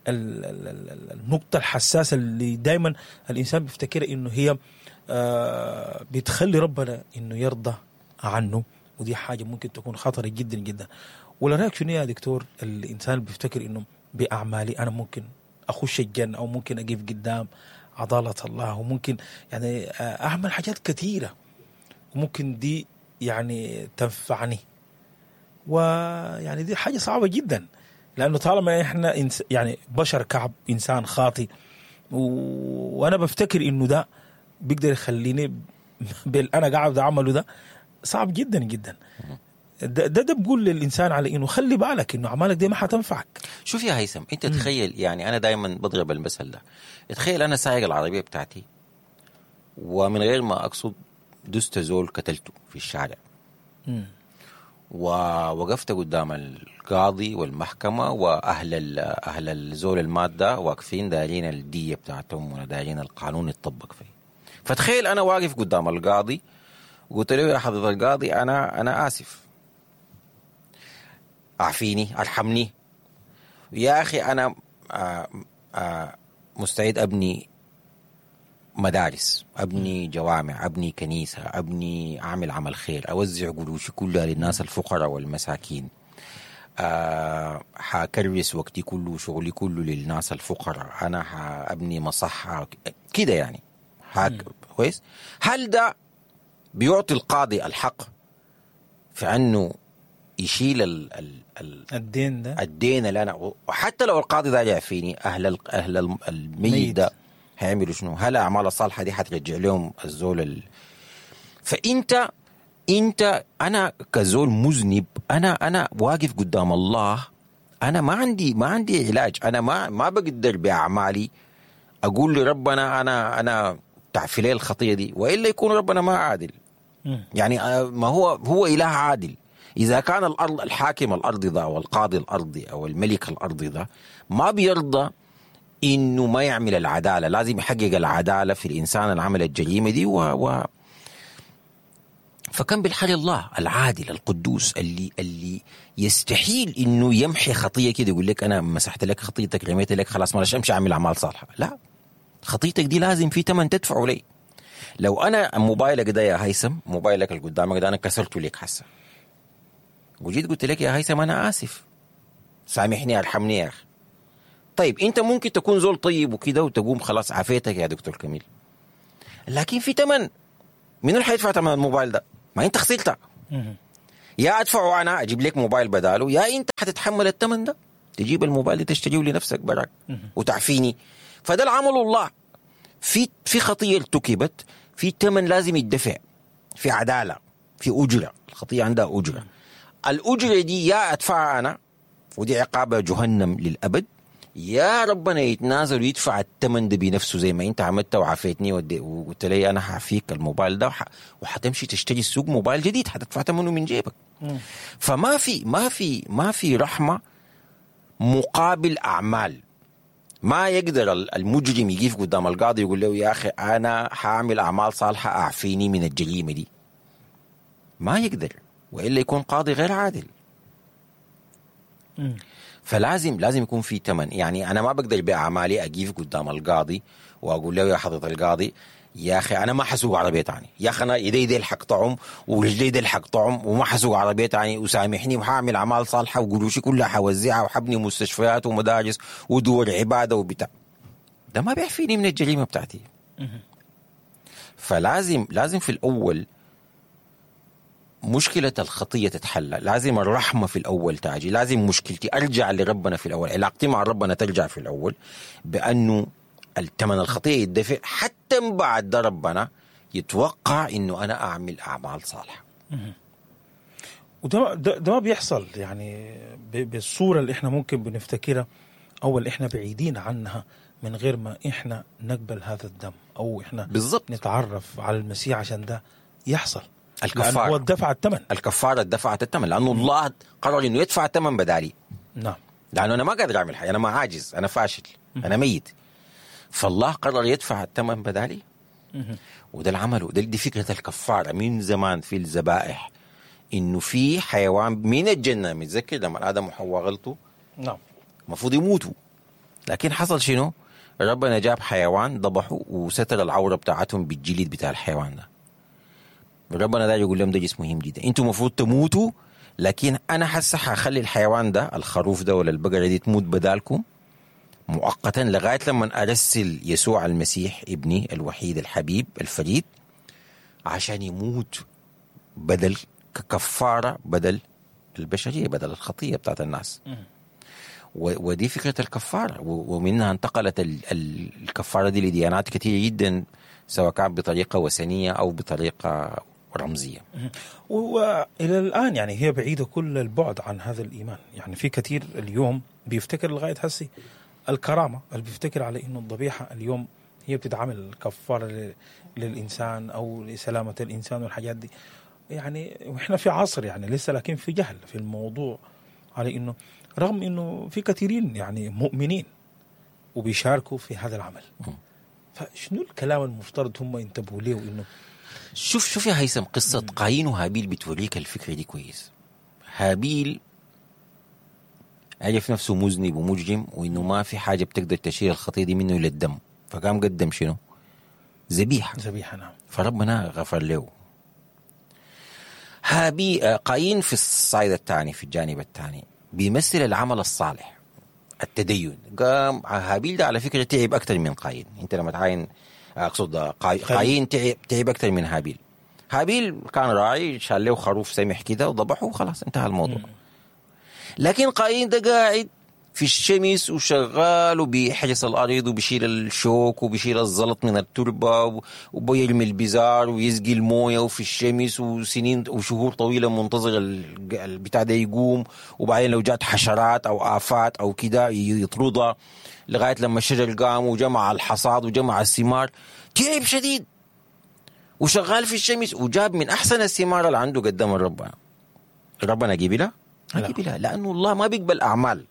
النقطة الحساسة اللي دايما الإنسان بيفتكر إنه هي بتخلي ربنا إنه يرضى عنه، ودي حاجة ممكن تكون خطرة جدا جدا. ولا رأيك شنو يا دكتور؟ الإنسان بيفتكر إنه بأعمالي أنا ممكن أخش الجنة، أو ممكن أقف قدام عضالة الله، وممكن يعني أعمل حاجات كثيرة وممكن دي يعني تنفعني، ويعني دي حاجة صعبة جدا، لأنه طالما إحنا يعني بشر كعب، إنسان خاطي، وأنا بفتكر إنه ده بيقدر يخليني أنا قاعد أعمله، ده صعب جدا جدا. ده بقول للإنسان على إنه خلي بالك إنه أعمالك دي ما حتنفعك. شوف يا هيثم، أنت تخيل، يعني أنا دايما بضرب المثل ده، تخيل أنا سايق العربية بتاعتي ومن غير ما أقصد دست زول قتلته في الشارع، ووقفت قدام القاضي والمحكمة وأهل أهل الزول المادة واقفين دايرين الدية بتاعتهم ودايرين القانون يتطبق فيه. فتخيل أنا واقف قدام القاضي وقلت له يا حضرة القاضي أنا آسف، أعفيني، أرحمني يا أخي، أنا مستعد أبني مدارس، أبني جوامع، أبني كنيسة، أبني أعمل عمل خير، أوزع قروشي كلها للناس الفقراء والمساكين، حكرس وقتي كله وشغلي كله للناس الفقراء، أنا حأبني مصحة كده يعني كويس. هل ده بيعطي القاضي الحق في أنه يشيل الدين ده، الدين اللي أنا، وحتى لو القاضي ده يعفيني، أهل الميت ده هيعملوا شنو؟ هل أعمال الصالحة دي حترجع لهم الزول فأنت أنت أنا كزول مذنب، أنا واقف قدام الله، أنا ما عندي علاج، أنا ما بقدر بأعمالي أقول لربنا أنا تعفي لي الخطية دي، وإلا يكون ربنا ما عادل. يعني ما هو إله عادل. إذا كان الأرض الحاكم الأرضي ده والقاضي الأرضي أو الملك الأرضي ده ما بيرضى إنه ما يعمل العدالة، لازم يحقق العدالة في الإنسان اللي عمل الجريمة دي فكان بالحال الله العادل القدوس اللي يستحيل إنه يمحي خطية كده، يقول لك أنا مسحت لك خطيتك، رميت لك، خلاص ما ليش أمشي أعمل أعمال صالحة. لا، خطيتك دي لازم في ثمن تدفعه لي. لو انا موبايلك ده يا هيثم، موبايلك اللي قدامك ده انا كسرته لك هسه، وجيت قلت لك يا هيثم انا اسف، سامحني ارحمني يا اخي. طيب انت ممكن تكون زول طيب وكده وتقوم خلاص عافيتك يا دكتور كميل، لكن في ثمن. مين اللي حيدفع ثمن الموبايل ده؟ ما انت خسرته. يا ادفعه انا اجيب لك موبايل بداله، يا انت حتتحمل الثمن ده، تجيب الموبايل ده تشتريه لنفسك براك وتعفيني. فده العمل الله. في خطيه ارتكبت، في ثمن لازم يدفع، في عدالة، في اجره، الخطية عندها اجره. الاجرة دي يا ادفعها انا ودي عقابه جهنم للابد، يا ربنا يتنازل ويدفع الثمن ده بنفسه زي ما انت عملت وعافيتني وقلت لي انا حعفيك الموبايل ده، وحتمشي تشتري السوق موبايل جديد حتدفع ثمنه من جيبك. فما في ما في ما في رحمه مقابل اعمال. ما يقدر المجرم يقف قدام القاضي يقول له يا اخي انا حاعمل اعمال صالحه اعفيني من الجريمة دي. ما يقدر، والا يكون قاضي غير عادل. فلازم لازم يكون في ثمن. يعني انا ما بقدر باعمالي اقيف قدام القاضي واقول له يا حضره القاضي يا اخي انا ما حسوق عربية تاني، يا اخي انا ايدي دي حقطعهم ورجلي دي حقطعهم وما حسوق عربية تاني، وسامحني وحاعمل اعمال صالحه وقروشي كلها حوزعها وحبني مستشفيات ومدارس ودور عباده وبتاع. ده ما بيعفيني من الجريمة بتاعتي. فلازم لازم في الاول مشكلة الخطية تتحلى، لازم الرحمة في الأول تاجي، لازم مشكلتي أرجع لربنا في الأول، علاقتي مع ربنا ترجع في الأول بأنه الثمن الخطية يدفع، حتى بعد ده ربنا يتوقع إنه أنا أعمل أعمال صالحة. وده ده ما بيحصل يعني بالصورة اللي إحنا ممكن بنفتكرها أو اللي إحنا بعيدين عنها من غير ما إحنا نقبل هذا الدم أو إحنا بالضبط نتعرف على المسيح عشان ده يحصل. الكفارة هو دفع الثمن، الكفارة دفعت الثمن لأنه الله قرر إنه يدفع الثمن بدالي. نعم، لأنه أنا ما قادر أعمل حاجة، أنا ما عاجز، أنا فاشل، أنا ميت، فالله قرر يدفع الثمن بدالي. وده العمل، وده دي فكرة الكفارة من زمان في الذبائح، إنه في حيوان من الجنة، متذكر لما آدم وحواء غلطوا؟ نعم، المفروض يموتوا، لكن حصل شنو؟ ربنا جاب حيوان ذبحه وستر العورة بتاعتهم بالجلد بتاع الحيوان ده. ربنا ده يقول لهم ده جسم مهم جدا، انتم المفروض تموتوا، لكن انا حاسه حخلي الحيوان ده، الخروف ده ولا البقرة دي، تموت بدالكم مؤقتا لغاية لما ارسل يسوع المسيح ابني الوحيد الحبيب الفريد عشان يموت بدل ككفاره، بدل البشرية، بدل الخطية بتاعت الناس. ودي فكرة الكفارة، ومنها انتقلت الكفارة دي لديانات كثيرة جدا، سواء كان بطريقة وثنية او بطريقة رمزية. وإلى الآن يعني هي بعيدة كل البعد عن هذا الإيمان. يعني في كثير اليوم بيفتكر لغاية هسي الكرامة، اللي بيفتكر على إنه الضبيحة اليوم هي بتتعمل كفارة للإنسان أو لسلامة الإنسان والحاجات دي. يعني وإحنا في عصر يعني لسه، لكن في جهل في الموضوع على إنه رغم إنه في كثيرين يعني مؤمنين وبيشاركوا في هذا العمل. فشنو الكلام المفترض هم ينتبهوا ليه؟ وإنه شوف يا هيثم، قصة قايين وهابيل بتوريك الفكرة دي كويس. هابيل عرف نفسه مذنب ومجرم، وإنه ما في حاجة بتقدر تشيل الخطية دي منه إلا الدم، فقام قدم شنو؟ ذبيحة. ذبيحة، نعم. فربنا غفر له. قايين في الصعيد الثاني، في الجانب الثاني، بيمثل العمل الصالح، التدين. قام هابيل ده على فكرة تعب أكثر من قايين. أنت لما تعاين، أقصد قايين تعب أكثر من هابيل. هابيل كان راعي، شال له خروف سمح كده وضبحه وخلاص انتهى الموضوع. لكن قايين ده قاعد في الشمس وشغال وبيحرس الأرض وبيشيل الشوك وبيشيل الزلط من التربة وبيرمي البزار ويسقي الموية وفي الشمس وسنين وشهور طويلة منتظر البتاع ده يقوم، وبعدين لو جات حشرات أو آفات أو كده يطردها لغاية لما الشجر قام وجمع الحصاد وجمع الثمار. تعب شديد وشغال في الشمس وجاب من أحسن الثمار اللي عنده قدام ربنا. ربنا قبلها؟ ما قبلها، لأنه الله ما بيقبل أعمال.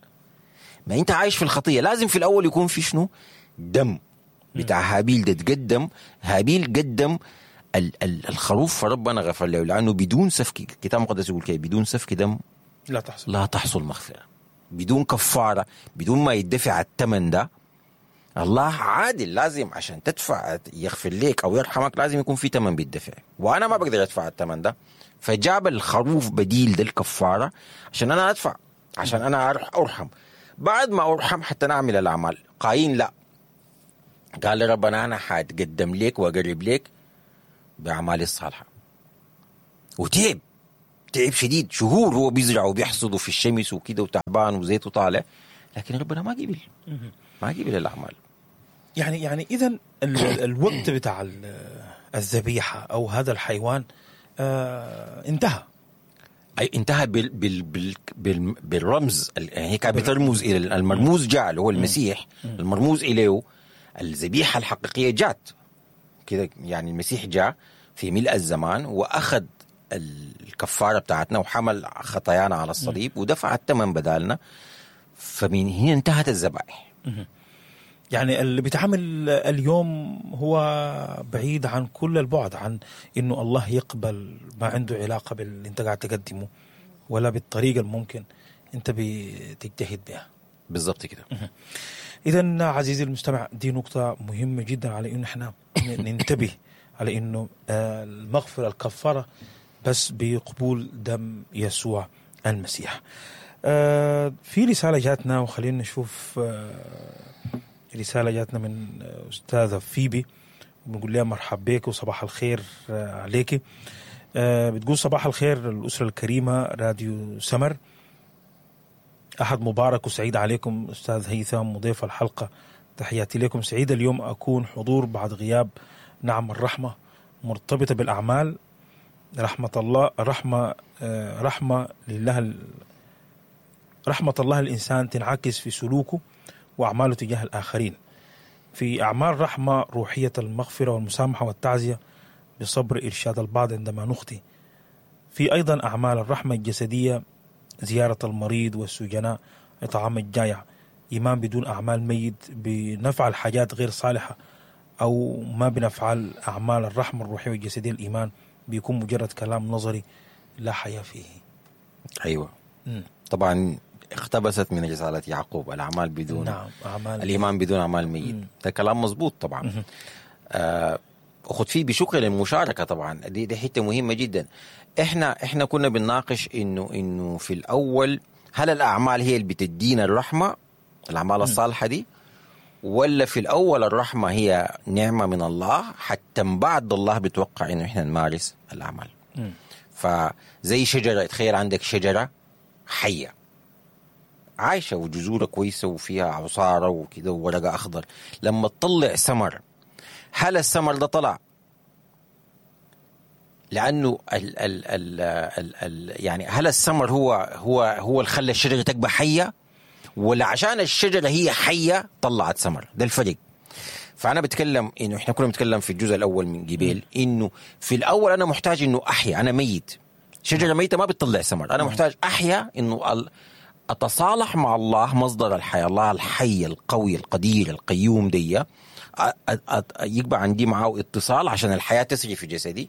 ما انت عايش في الخطية، لازم في الاول يكون في شنو؟ دم بتاع هابيل ده تقدم. هابيل قدم الخروف فربنا غفر له، لانه بدون سفك، الكتاب المقدس يقول كده، بدون سفك دم لا تحصل مغفرة. بدون كفارة، بدون ما يدفع الثمن ده الله عادل، لازم عشان تدفع يغفر لك او يرحمك لازم يكون في ثمن بيدفع، وانا ما بقدر ادفع الثمن ده، فجاب الخروف بديل ده الكفارة عشان انا ادفع، عشان انا ارحم. بعد ما ارحم حتى نعمل الاعمال. قايين لا، قال لربنا انا حاتقدم لك واقرب لك باعمالي الصالحة. وتعب، تعب شديد، شهور هو بيزرع وبيحصد في الشمس وكده وتعبان وزيته طالع، لكن ربنا ما قبل، ما قبل الاعمال. يعني اذا الوقت بتاع الذبيحة او هذا الحيوان انتهى. اي انتهى بال بال بال بال بالرمز، يعني هي كانت بترمز الى المرموز جاء اللي هو المسيح، المرموز اليه الذبيحة الحقيقية جات كده. يعني المسيح جاء في ملء الزمان واخذ الكفارة بتاعتنا وحمل خطايانا على الصليب ودفع الثمن بدالنا، فمن هنا انتهت الذبائح. يعني اللي بيتعامل اليوم هو بعيد عن كل البعد عن انه الله يقبل، ما عنده علاقة باللي انت قاعد تقدمه ولا بالطريقة الممكن انت بتجتهد بها. بالضبط كده. اذا عزيزي المستمع، دي نقطة مهمة جدا على انه احنا ننتبه على انه المغفرة الكفارة بس بقبول دم يسوع المسيح. في رسالة جاتنا، وخلينا نشوف رسالة جاتنا من أستاذة فيبي، بنقول لها مرحب بك وصباح الخير عليك. بتقول صباح الخير الأسرة الكريمة راديو سمر، أحد مبارك وسعيد عليكم أستاذ هيثم مضيف الحلقة، تحياتي لكم. سعيد اليوم أكون حضور بعد غياب. نعم الرحمة مرتبطة بالأعمال، رحمة الله رحمة رحمة لله، رحمة الله الإنسان تنعكس في سلوكه وأعماله تجاه الآخرين. في أعمال رحمة روحية المغفرة والمسامحة والتعزية بصبر إرشاد البعض عندما نخطئ. في أيضا أعمال الرحمة الجسدية، زيارة المريض والسجناء، إطعام الجائع. إيمان بدون أعمال ميت، بنفعل حاجات غير صالحة أو ما بنفعل أعمال الرحمة الروحية والجسدية، الإيمان بيكون مجرد كلام نظري لا حياة فيه. أيوة. طبعا اقتبست من رسالة يعقوب، الأعمال بدون، نعم، أعمال الإيمان بدون أعمال ميت. ده كلام مظبوط طبعا. أخذ فيه بشكر للمشاركة طبعا، دي حتة مهمة جدا. احنا كنا بنناقش إنه في الأول هل الأعمال هي اللي بتدينا الرحمة، الأعمال الصالحة دي، ولا في الأول الرحمة هي نعمة من الله حتى بعد الله بتوقع إنه إحنا نمارس الأعمال. فزي شجرة، تخيل عندك شجرة حية عايشة وجذورها كويسة وفيها عصارة وكده وورقة أخضر، لما تطلع ثمر، هل الثمر ده طلع لأنه ال ال ال ال ال يعني هل الثمر هو اللي خلى الشجرة تبقى حية، ولا عشان الشجرة هي حية طلعت ثمر؟ ده الفرق. فأنا بتكلم إنه إحنا كنا بنتكلم في الجزء الأول من جبال إنه في الأول أنا محتاج إنه أحيا، أنا ميت، شجرة ميتة ما بتطلع ثمر، أنا محتاج أحيا، إنه أتصالح مع الله مصدر الحياة، الله الحي القوي القدير القيوم دي، يبقى عندي معه اتصال عشان الحياة تسري في جسدي.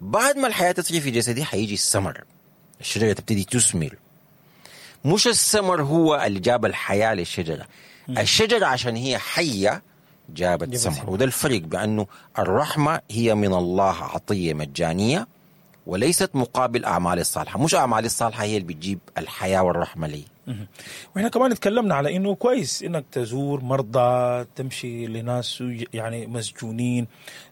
بعد ما الحياة تسري في جسدي حيجي الثمر، الشجرة تبتدي تثمر. مش الثمر هو اللي جاب الحياة للشجرة، الشجرة عشان هي حية جابت ثمر. وده الفرق، بأنه الرحمة هي من الله عطية مجانية وليست مقابل أعمال الصالحة، مش أعمال الصالحة هي اللي بتجيب الحياة والرحمة لي. وإحنا كمان اتكلمنا على إنه كويس إنك تزور مرضى، تمشي لناس يعني مسجونين،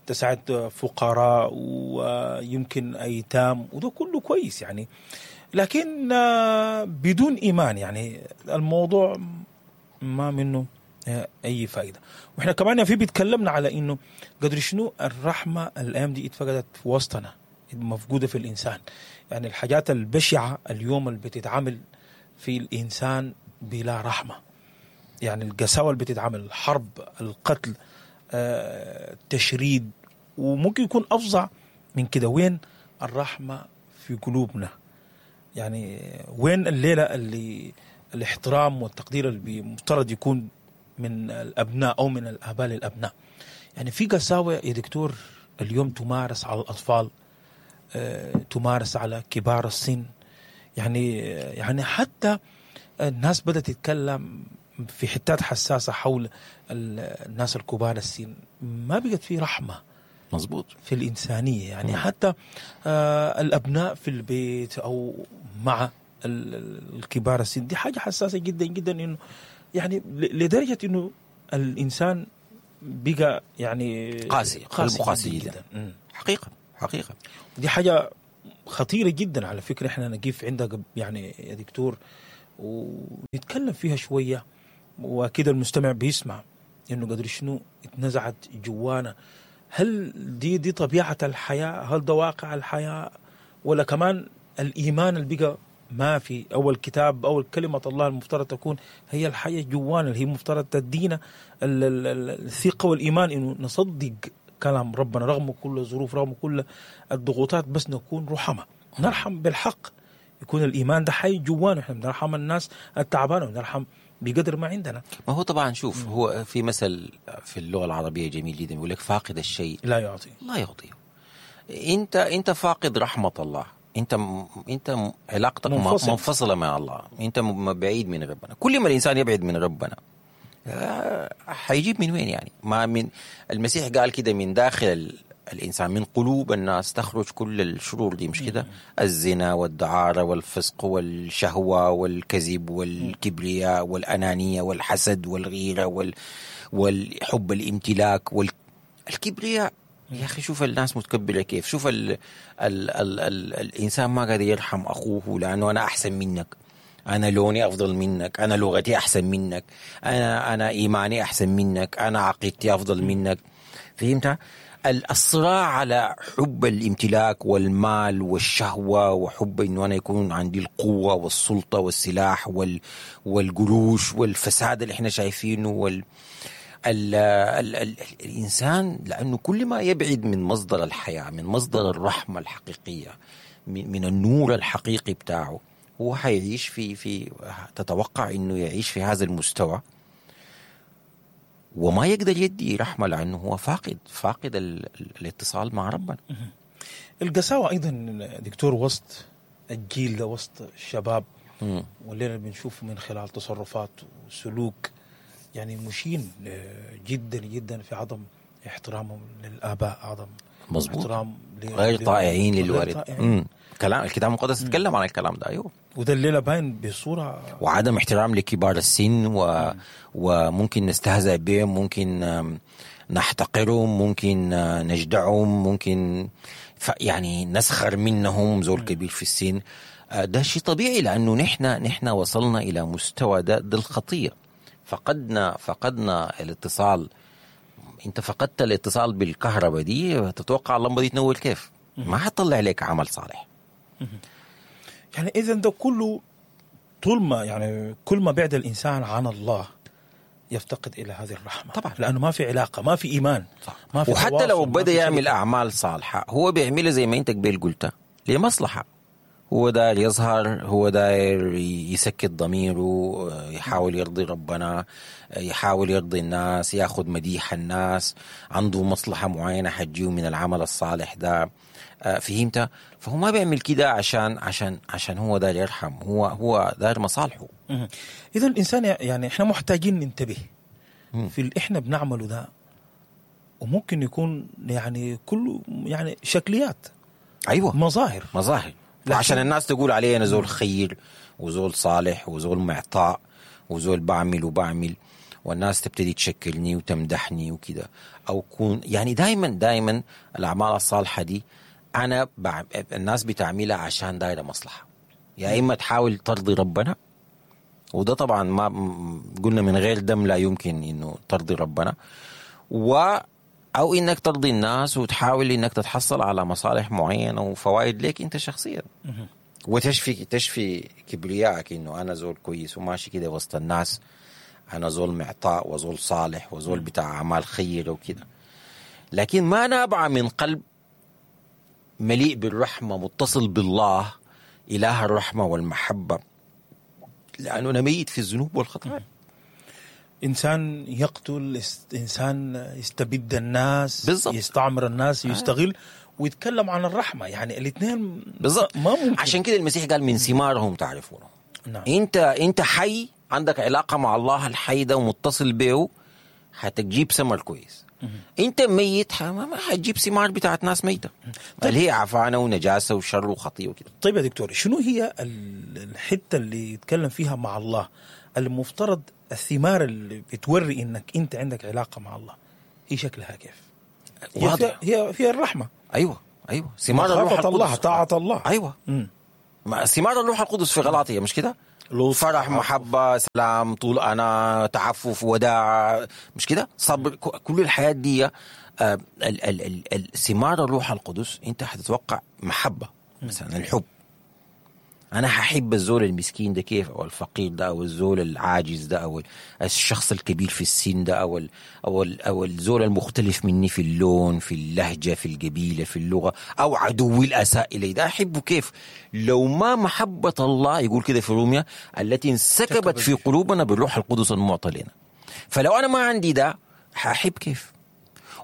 تساعد فقراء ويمكن أيتام، وده كله كويس يعني، لكن بدون إيمان يعني الموضوع ما منه أي فائدة. وإحنا كمان في بيتكلمنا على إنه قدر شنو الرحمة الأيام دي اتفقدت في وسطنا، مفقودة في الإنسان. يعني الحاجات البشعة اليوم اللي بتتعامل في الإنسان بلا رحمة، يعني القساوة اللي بتتعامل، الحرب، القتل، التشريد، وممكن يكون أفظع من كده. وين الرحمة في قلوبنا؟ يعني وين الليلة اللي الاحترام والتقدير اللي مفترض يكون من الأبناء أو من الآباء للأبناء؟ يعني في قساوة يا دكتور اليوم تمارس على الأطفال، تمارس على كبار السن، يعني حتى الناس بدأت تتكلم في حتات حساسة حول الناس الكبار السن ما بقت في رحمه. مظبوط. في الإنسانية يعني حتى الأبناء في البيت أو مع الكبار السن، دي حاجة حساسة جدا جدا، إنه يعني لدرجة إنه الإنسان بقى يعني قاسي، قلبه قاسي جدا, جداً. حقيقة حقيقة دي حاجة خطيرة جدا على فكرة. إحنا نقف عندها يعني يا دكتور ونتكلم فيها شوية، وأكيد المستمع بيسمع إنه قدر شنو اتنزعت جوانا. هل دي طبيعة الحياة؟ هل ده واقع الحياة؟ ولا كمان الإيمان اللي بقى ما في، أو الكتاب أو كلمة الله المفترض تكون هي الحياة جوانا، اللي هي المفترض تدينا الثقة والإيمان إنه نصدق كلام ربنا رغم كل الظروف، رغم كل الضغوطات، بس نكون رحمة، نرحم بالحق، يكون الإيمان ده حي جوانا. إحنا بنرحم الناس التعبانة ونرحم بقدر ما عندنا. ما هو طبعا شوف، هو في مثل في اللغة العربية جميل جدا يقول لك فاقد الشيء لا يعطي، لا يعطيه. انت فاقد رحمة الله، انت علاقتك منفصلة مع الله، انت بعيد من ربنا. كل ما الانسان يبعد من ربنا حيجيب من وين يعني؟ ما من المسيح قال كده، من داخل الإنسان، من قلوب الناس تخرج كل الشرور دي، مش كده؟ الزنا والدعارة والفسق والشهوة والكذب والكبرياء والأنانية والحسد والغيرة والحب الامتلاك والكبرياء. يا أخي شوف الناس متكبرة كيف، شوف ال ال ال ال الإنسان ما قادر يرحم أخوه لأنه أنا أحسن منك، أنا لوني أفضل منك، أنا لغتي أحسن منك، أنا إيماني أحسن منك، أنا عقيدتي أفضل منك. فهمت؟ الصراع على حب الامتلاك والمال والشهوة، وحب إنه أنا يكون عندي القوة والسلطة والسلاح والقروش والفساد اللي إحنا شايفينه الإنسان، لأنه كل ما يبعد من مصدر الحياة، من مصدر الرحمة الحقيقية، من النور الحقيقي بتاعه، هو حيعيش في تتوقع إنه يعيش في هذا المستوى وما يقدر يدي رحمة، لأنه هو فاقد الاتصال مع ربنا. القساوة أيضا دكتور وسط الجيل ده، وسط الشباب، واللي بنشوفه من خلال تصرفات وسلوك يعني مشين جدا جدا في عدم احترامهم للآباء، عدم مظبوط، احترام غير طائعين للوالد. كلام الكتاب المقدس يتكلم عن الكلام ده، أيوه، وده الليلة باين بصورة، وعدم احترام لكبار السن وممكن نستهزأ بهم، ممكن نحتقرهم، ممكن نجدعهم، ممكن يعني نسخر منهم، زول كبير في السن. ده شيء طبيعي، لأنه نحن وصلنا إلى مستوى ده الخطية. فقدنا الاتصال. انت فقدت الاتصال بالكهرباء دي، تتوقع اللمبة دي تنور كيف؟ ما حتطلع لك عمل صالح. يعني اذا ده كله طول ما يعني كل ما بعد الانسان عن الله يفتقد الى هذه الرحمة طبعا، لانه ما في علاقة، ما في ايمان، صح. ما في وحتى لو بدا يعمل اعمال صالحه، هو بيعملها زي ما انت قبل قلت لمصلحة، هو داير يظهر، هو داير يسكت ضميره، يحاول يرضي ربنا، يحاول يرضي الناس، ياخذ مديح الناس، عنده مصلحة معينة حتجيه من العمل الصالح ده. فهمت؟ فهو ما بيعمل كده عشان عشان عشان هو داير يرحم، هو داير مصالحه. إذا الإنسان يعني إحنا محتاجين ننتبه في اللي إحنا بنعمله ده، وممكن يكون يعني كله يعني شكليات، أيوة، مظاهر عشان الناس تقول عليه أنا زول خير وزول صالح وزول معطاء وزول بعمل وبعمل، والناس تبتدي تشكلني وتمدحني وكده، أو كون يعني دايما الأعمال الصالحة دي أنا الناس بتعملها عشان دايرة مصلحة، يا إما تحاول ترضي ربنا، وده طبعا ما قلنا من غير دم لا يمكن إنه ترضي ربنا، أو إنك ترضي الناس وتحاول إنك تتحصل على مصالح معينة وفوائد لك أنت شخصيا، وتشفي تشفي كبريائك إنه أنا زول كويس وماشي كده وسط الناس، أنا زول معطاء وزول صالح وزول بتاع أعمال خيرة وكده. لكن ما نابع من قلب مليء بالرحمة، متصل بالله إله الرحمة والمحبة، لأنه أنا ميت في الذنوب والخطايا. إنسان يقتل، إنسان يستبد الناس، بالزبط. يستعمر الناس، يستغل، ويتكلم عن الرحمة، يعني الاثنين بالضبط ما ممكن. عشان كده المسيح قال من ثمارهم تعرفونه. نعم. أنت حي عندك علاقة مع الله الحي ده ومتصل به، حتجيب ثمر كويس. انت ميت ما حتجيب ثمار بتاعت ناس ميته، اللي هي عفانه ونجاسه وشر وخطيه وكده. طيب يا دكتور، شنو هي الحتة اللي يتكلم فيها مع الله المفترض الثمار اللي بتوري انك انت عندك علاقة مع الله هي شكلها كيف؟ واضح. هي فيها الرحمة. ايوه ثمار الروح القدس، الله، طاعة الله. ايوه ثمار الروح القدس في غلاطية، مش كده؟ فرح، محبة، سلام، طول أنا، تعفف، وداع، مش كده؟ صبر، كل الحياة دي ثمار الروح القدس. أنت هتتوقع محبة مثلا، الحب، أنا هحب الزول المسكين ده كيف، أو الفقير ده، أو الزول العاجز ده، أو الشخص الكبير في السن ده، أو الزول المختلف مني في اللون، في اللهجة، في القبيلة، في اللغة، أو عدوي الأساء إلي ده، أحبه كيف؟ لو ما محبة الله، يقول كده في روميا، التي انسكبت في قلوبنا بالروح القدس المعطى لنا. فلو أنا ما عندي ده هحب كيف؟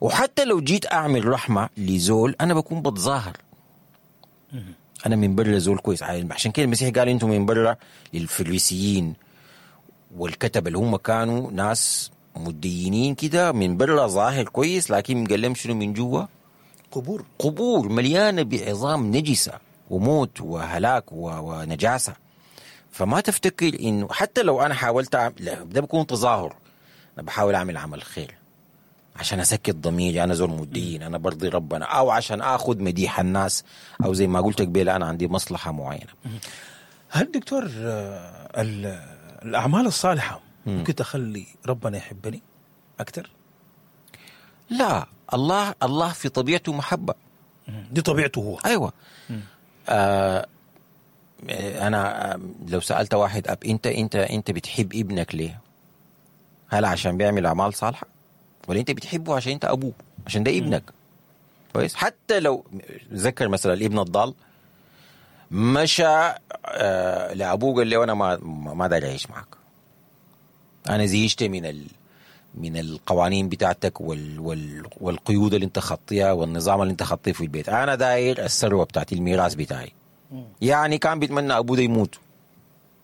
وحتى لو جيت أعمل رحمة لزول أنا بكون بتظاهر، أنا من برا زول كويس. عشان كده المسيح قال أنتم من برا للفريسيين والكتب اللي هم كانوا ناس مدينين كده، من برا ظاهر كويس، لكن قال لهم شنو من جوا؟ قبور مليانة بعظام نجسة وموت وهلاك ونجاسة. فما تفتكر إنه حتى لو أنا حاولت لا، ده بيكون تظاهر، أنا بحاول أعمل عمل خير عشان أسكت ضميري، أنا زول مدين، أنا برضي ربنا، أو عشان أخذ مديح الناس، أو زي ما قلت قبل أنا عندي مصلحة معينة. هل دكتور الأعمال الصالحة ممكن تخلي ربنا يحبني أكثر؟ لا، الله في طبيعته محبة، دي طبيعته هو. أيوة. أنا لو سألت واحد أب، أنت أنت أنت بتحب ابنك ليه؟ هل عشان بيعمل أعمال صالحة؟ ولا انت بتحبه عشان انت ابوه، عشان ده ابنك؟ كويس. حتى لو ذكر مثلا الابن الضال مشى لابوه قال له انا ما داير اعيش معك، انا زهقت من القوانين بتاعتك والقيود اللي انت خطيها والنظام اللي انت خطيه في البيت، انا داير الثروة بتاعتي، الميراث بتاعي. يعني كان بيتمنى ابوه ده يموت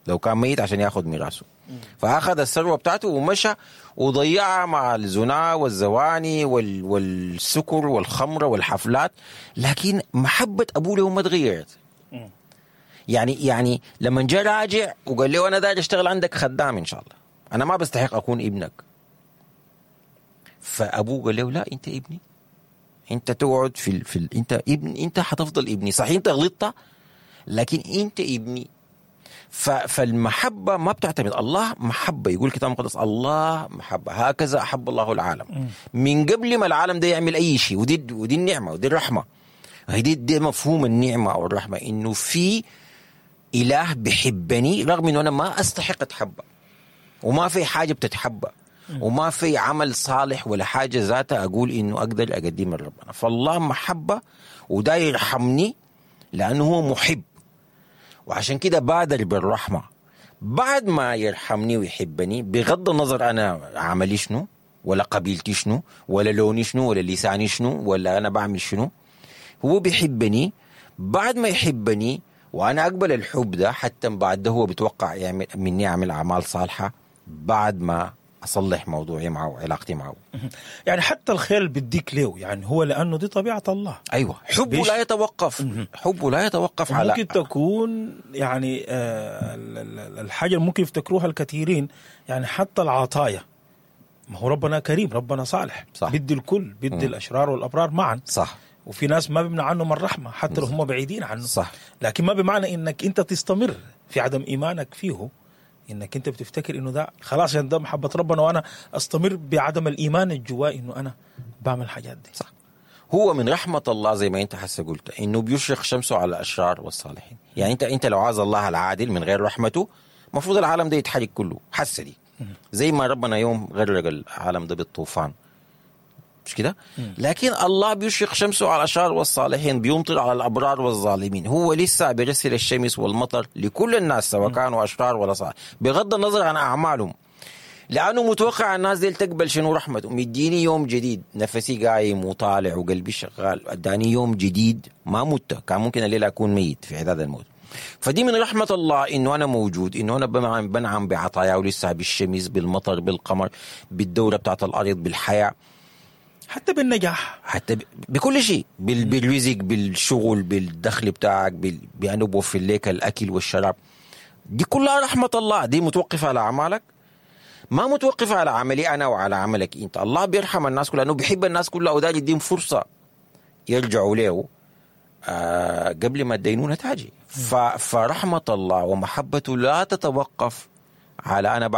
لو كان ميت عشان ياخذ ميراثه. فأخذ الثروة بتاعته ومشى وضيعها مع الزنا والزواني والسكر والخمرة والحفلات، لكن محبة أبوه له ما تغيرت. يعني لما جاء راجع وقال له أنا داير أشتغل عندك خدام إن شاء الله، أنا ما بستحق أكون ابنك. فأبوه قال له لا، أنت ابني، أنت تقعد في أنت ابن، أنت حتفضل ابني، صحيح أنت غلطت لكن أنت ابني. فالمحبة ما بتعتمد، الله محبة، يقول الكتاب المقدس الله محبة، هكذا أحب الله العالم من قبل ما العالم ده يعمل أي شيء. ودي النعمة ودي الرحمة، دي مفهوم النعمة أو الرحمة، إنه في إله بحبني رغم إنه أنا ما أستحق أتحبه، وما في حاجة بتتحبه، وما في عمل صالح ولا حاجة ذاتها أقول إنه أقدر أقدمها لربنا. فالله محبة وده يرحمني لأنه هو محب، وعشان كده بادر بالرحمة. بعد ما يرحمني ويحبني، بغض النظر أنا عملي شنو، ولا قبيلتي شنو، ولا لوني شنو، ولا لساني شنو، ولا أنا بعمل شنو، هو بيحبني. بعد ما يحبني وأنا أقبل الحب ده، حتى بعد ده هو بيتوقع يعمل مني أعمل أعمال صالحة بعد ما أصلح موضوعي معه وعلاقتي معه. يعني حتى الخير اللي بديك له، يعني هو لأنه دي طبيعة الله. أيوة، حبه لا يتوقف، حبه لا يتوقف على ممكن تكون يعني الحاجة اللي ممكن يفتكروها الكثيرين، يعني حتى العطايا، ما هو ربنا كريم، ربنا صالح، صح. بدي الكل، بدي الأشرار والأبرار معا، صح. وفي ناس ما بيمنع عنهم الرحمة حتى لو هم بعيدين عنه، صح. لكن ما بمعنى إنك أنت تستمر في عدم إيمانك فيه، انك انت بتفتكر انه ده خلاص عشان ده محبة ربنا وانا استمر بعدم الايمان الجواي انه انا بعمل الحاجات دي. صح. هو من رحمه الله زي ما انت حاسه قلت انه بيشرق شمسه على الاشرار والصالحين. يعني انت لو عايز الله العادل من غير رحمته المفروض العالم ده يتحرق كله، حاسه دي زي ما ربنا يوم غرق العالم ده بالطوفان، مش كده؟ لكن الله بيشرق شمسه على الأشرار والصالحين، بيمطر على الأبرار والظالمين. هو لسه بيرسل الشمس والمطر لكل الناس سواء كانوا أشرار ولا صالح، بغض النظر عن أعمالهم، لأنه متوقع الناس دي تقبل شنو رحمته. مديني يوم جديد، نفسي قايم وطالع وقلبي شغال، اداني يوم جديد، ما مت، كان ممكن الليلة أكون ميت في عداد الموت. فدي من رحمة الله انه انا موجود، انه انا بنعم بعطاياه لسه، بالشمس، بالمطر، بالقمر، بالدورة بتاعت الارض، بالحياة، حتى بالنجاح، حتى بكل شيء، بالرزق، بالشغل، بالدخل بتاعك، بانه بوفر لك الاكل والشراب. دي كلها رحمة الله. دي متوقفة على اعمالك؟ ما متوقفة على عملي انا وعلى عملك انت. الله بيرحم الناس كلها لانه بيحب الناس كلها، وداير يديهم فرصة يرجعوا له قبل ما الدينونة تاجي. فرحمة الله ومحبته لا تتوقف على أنا.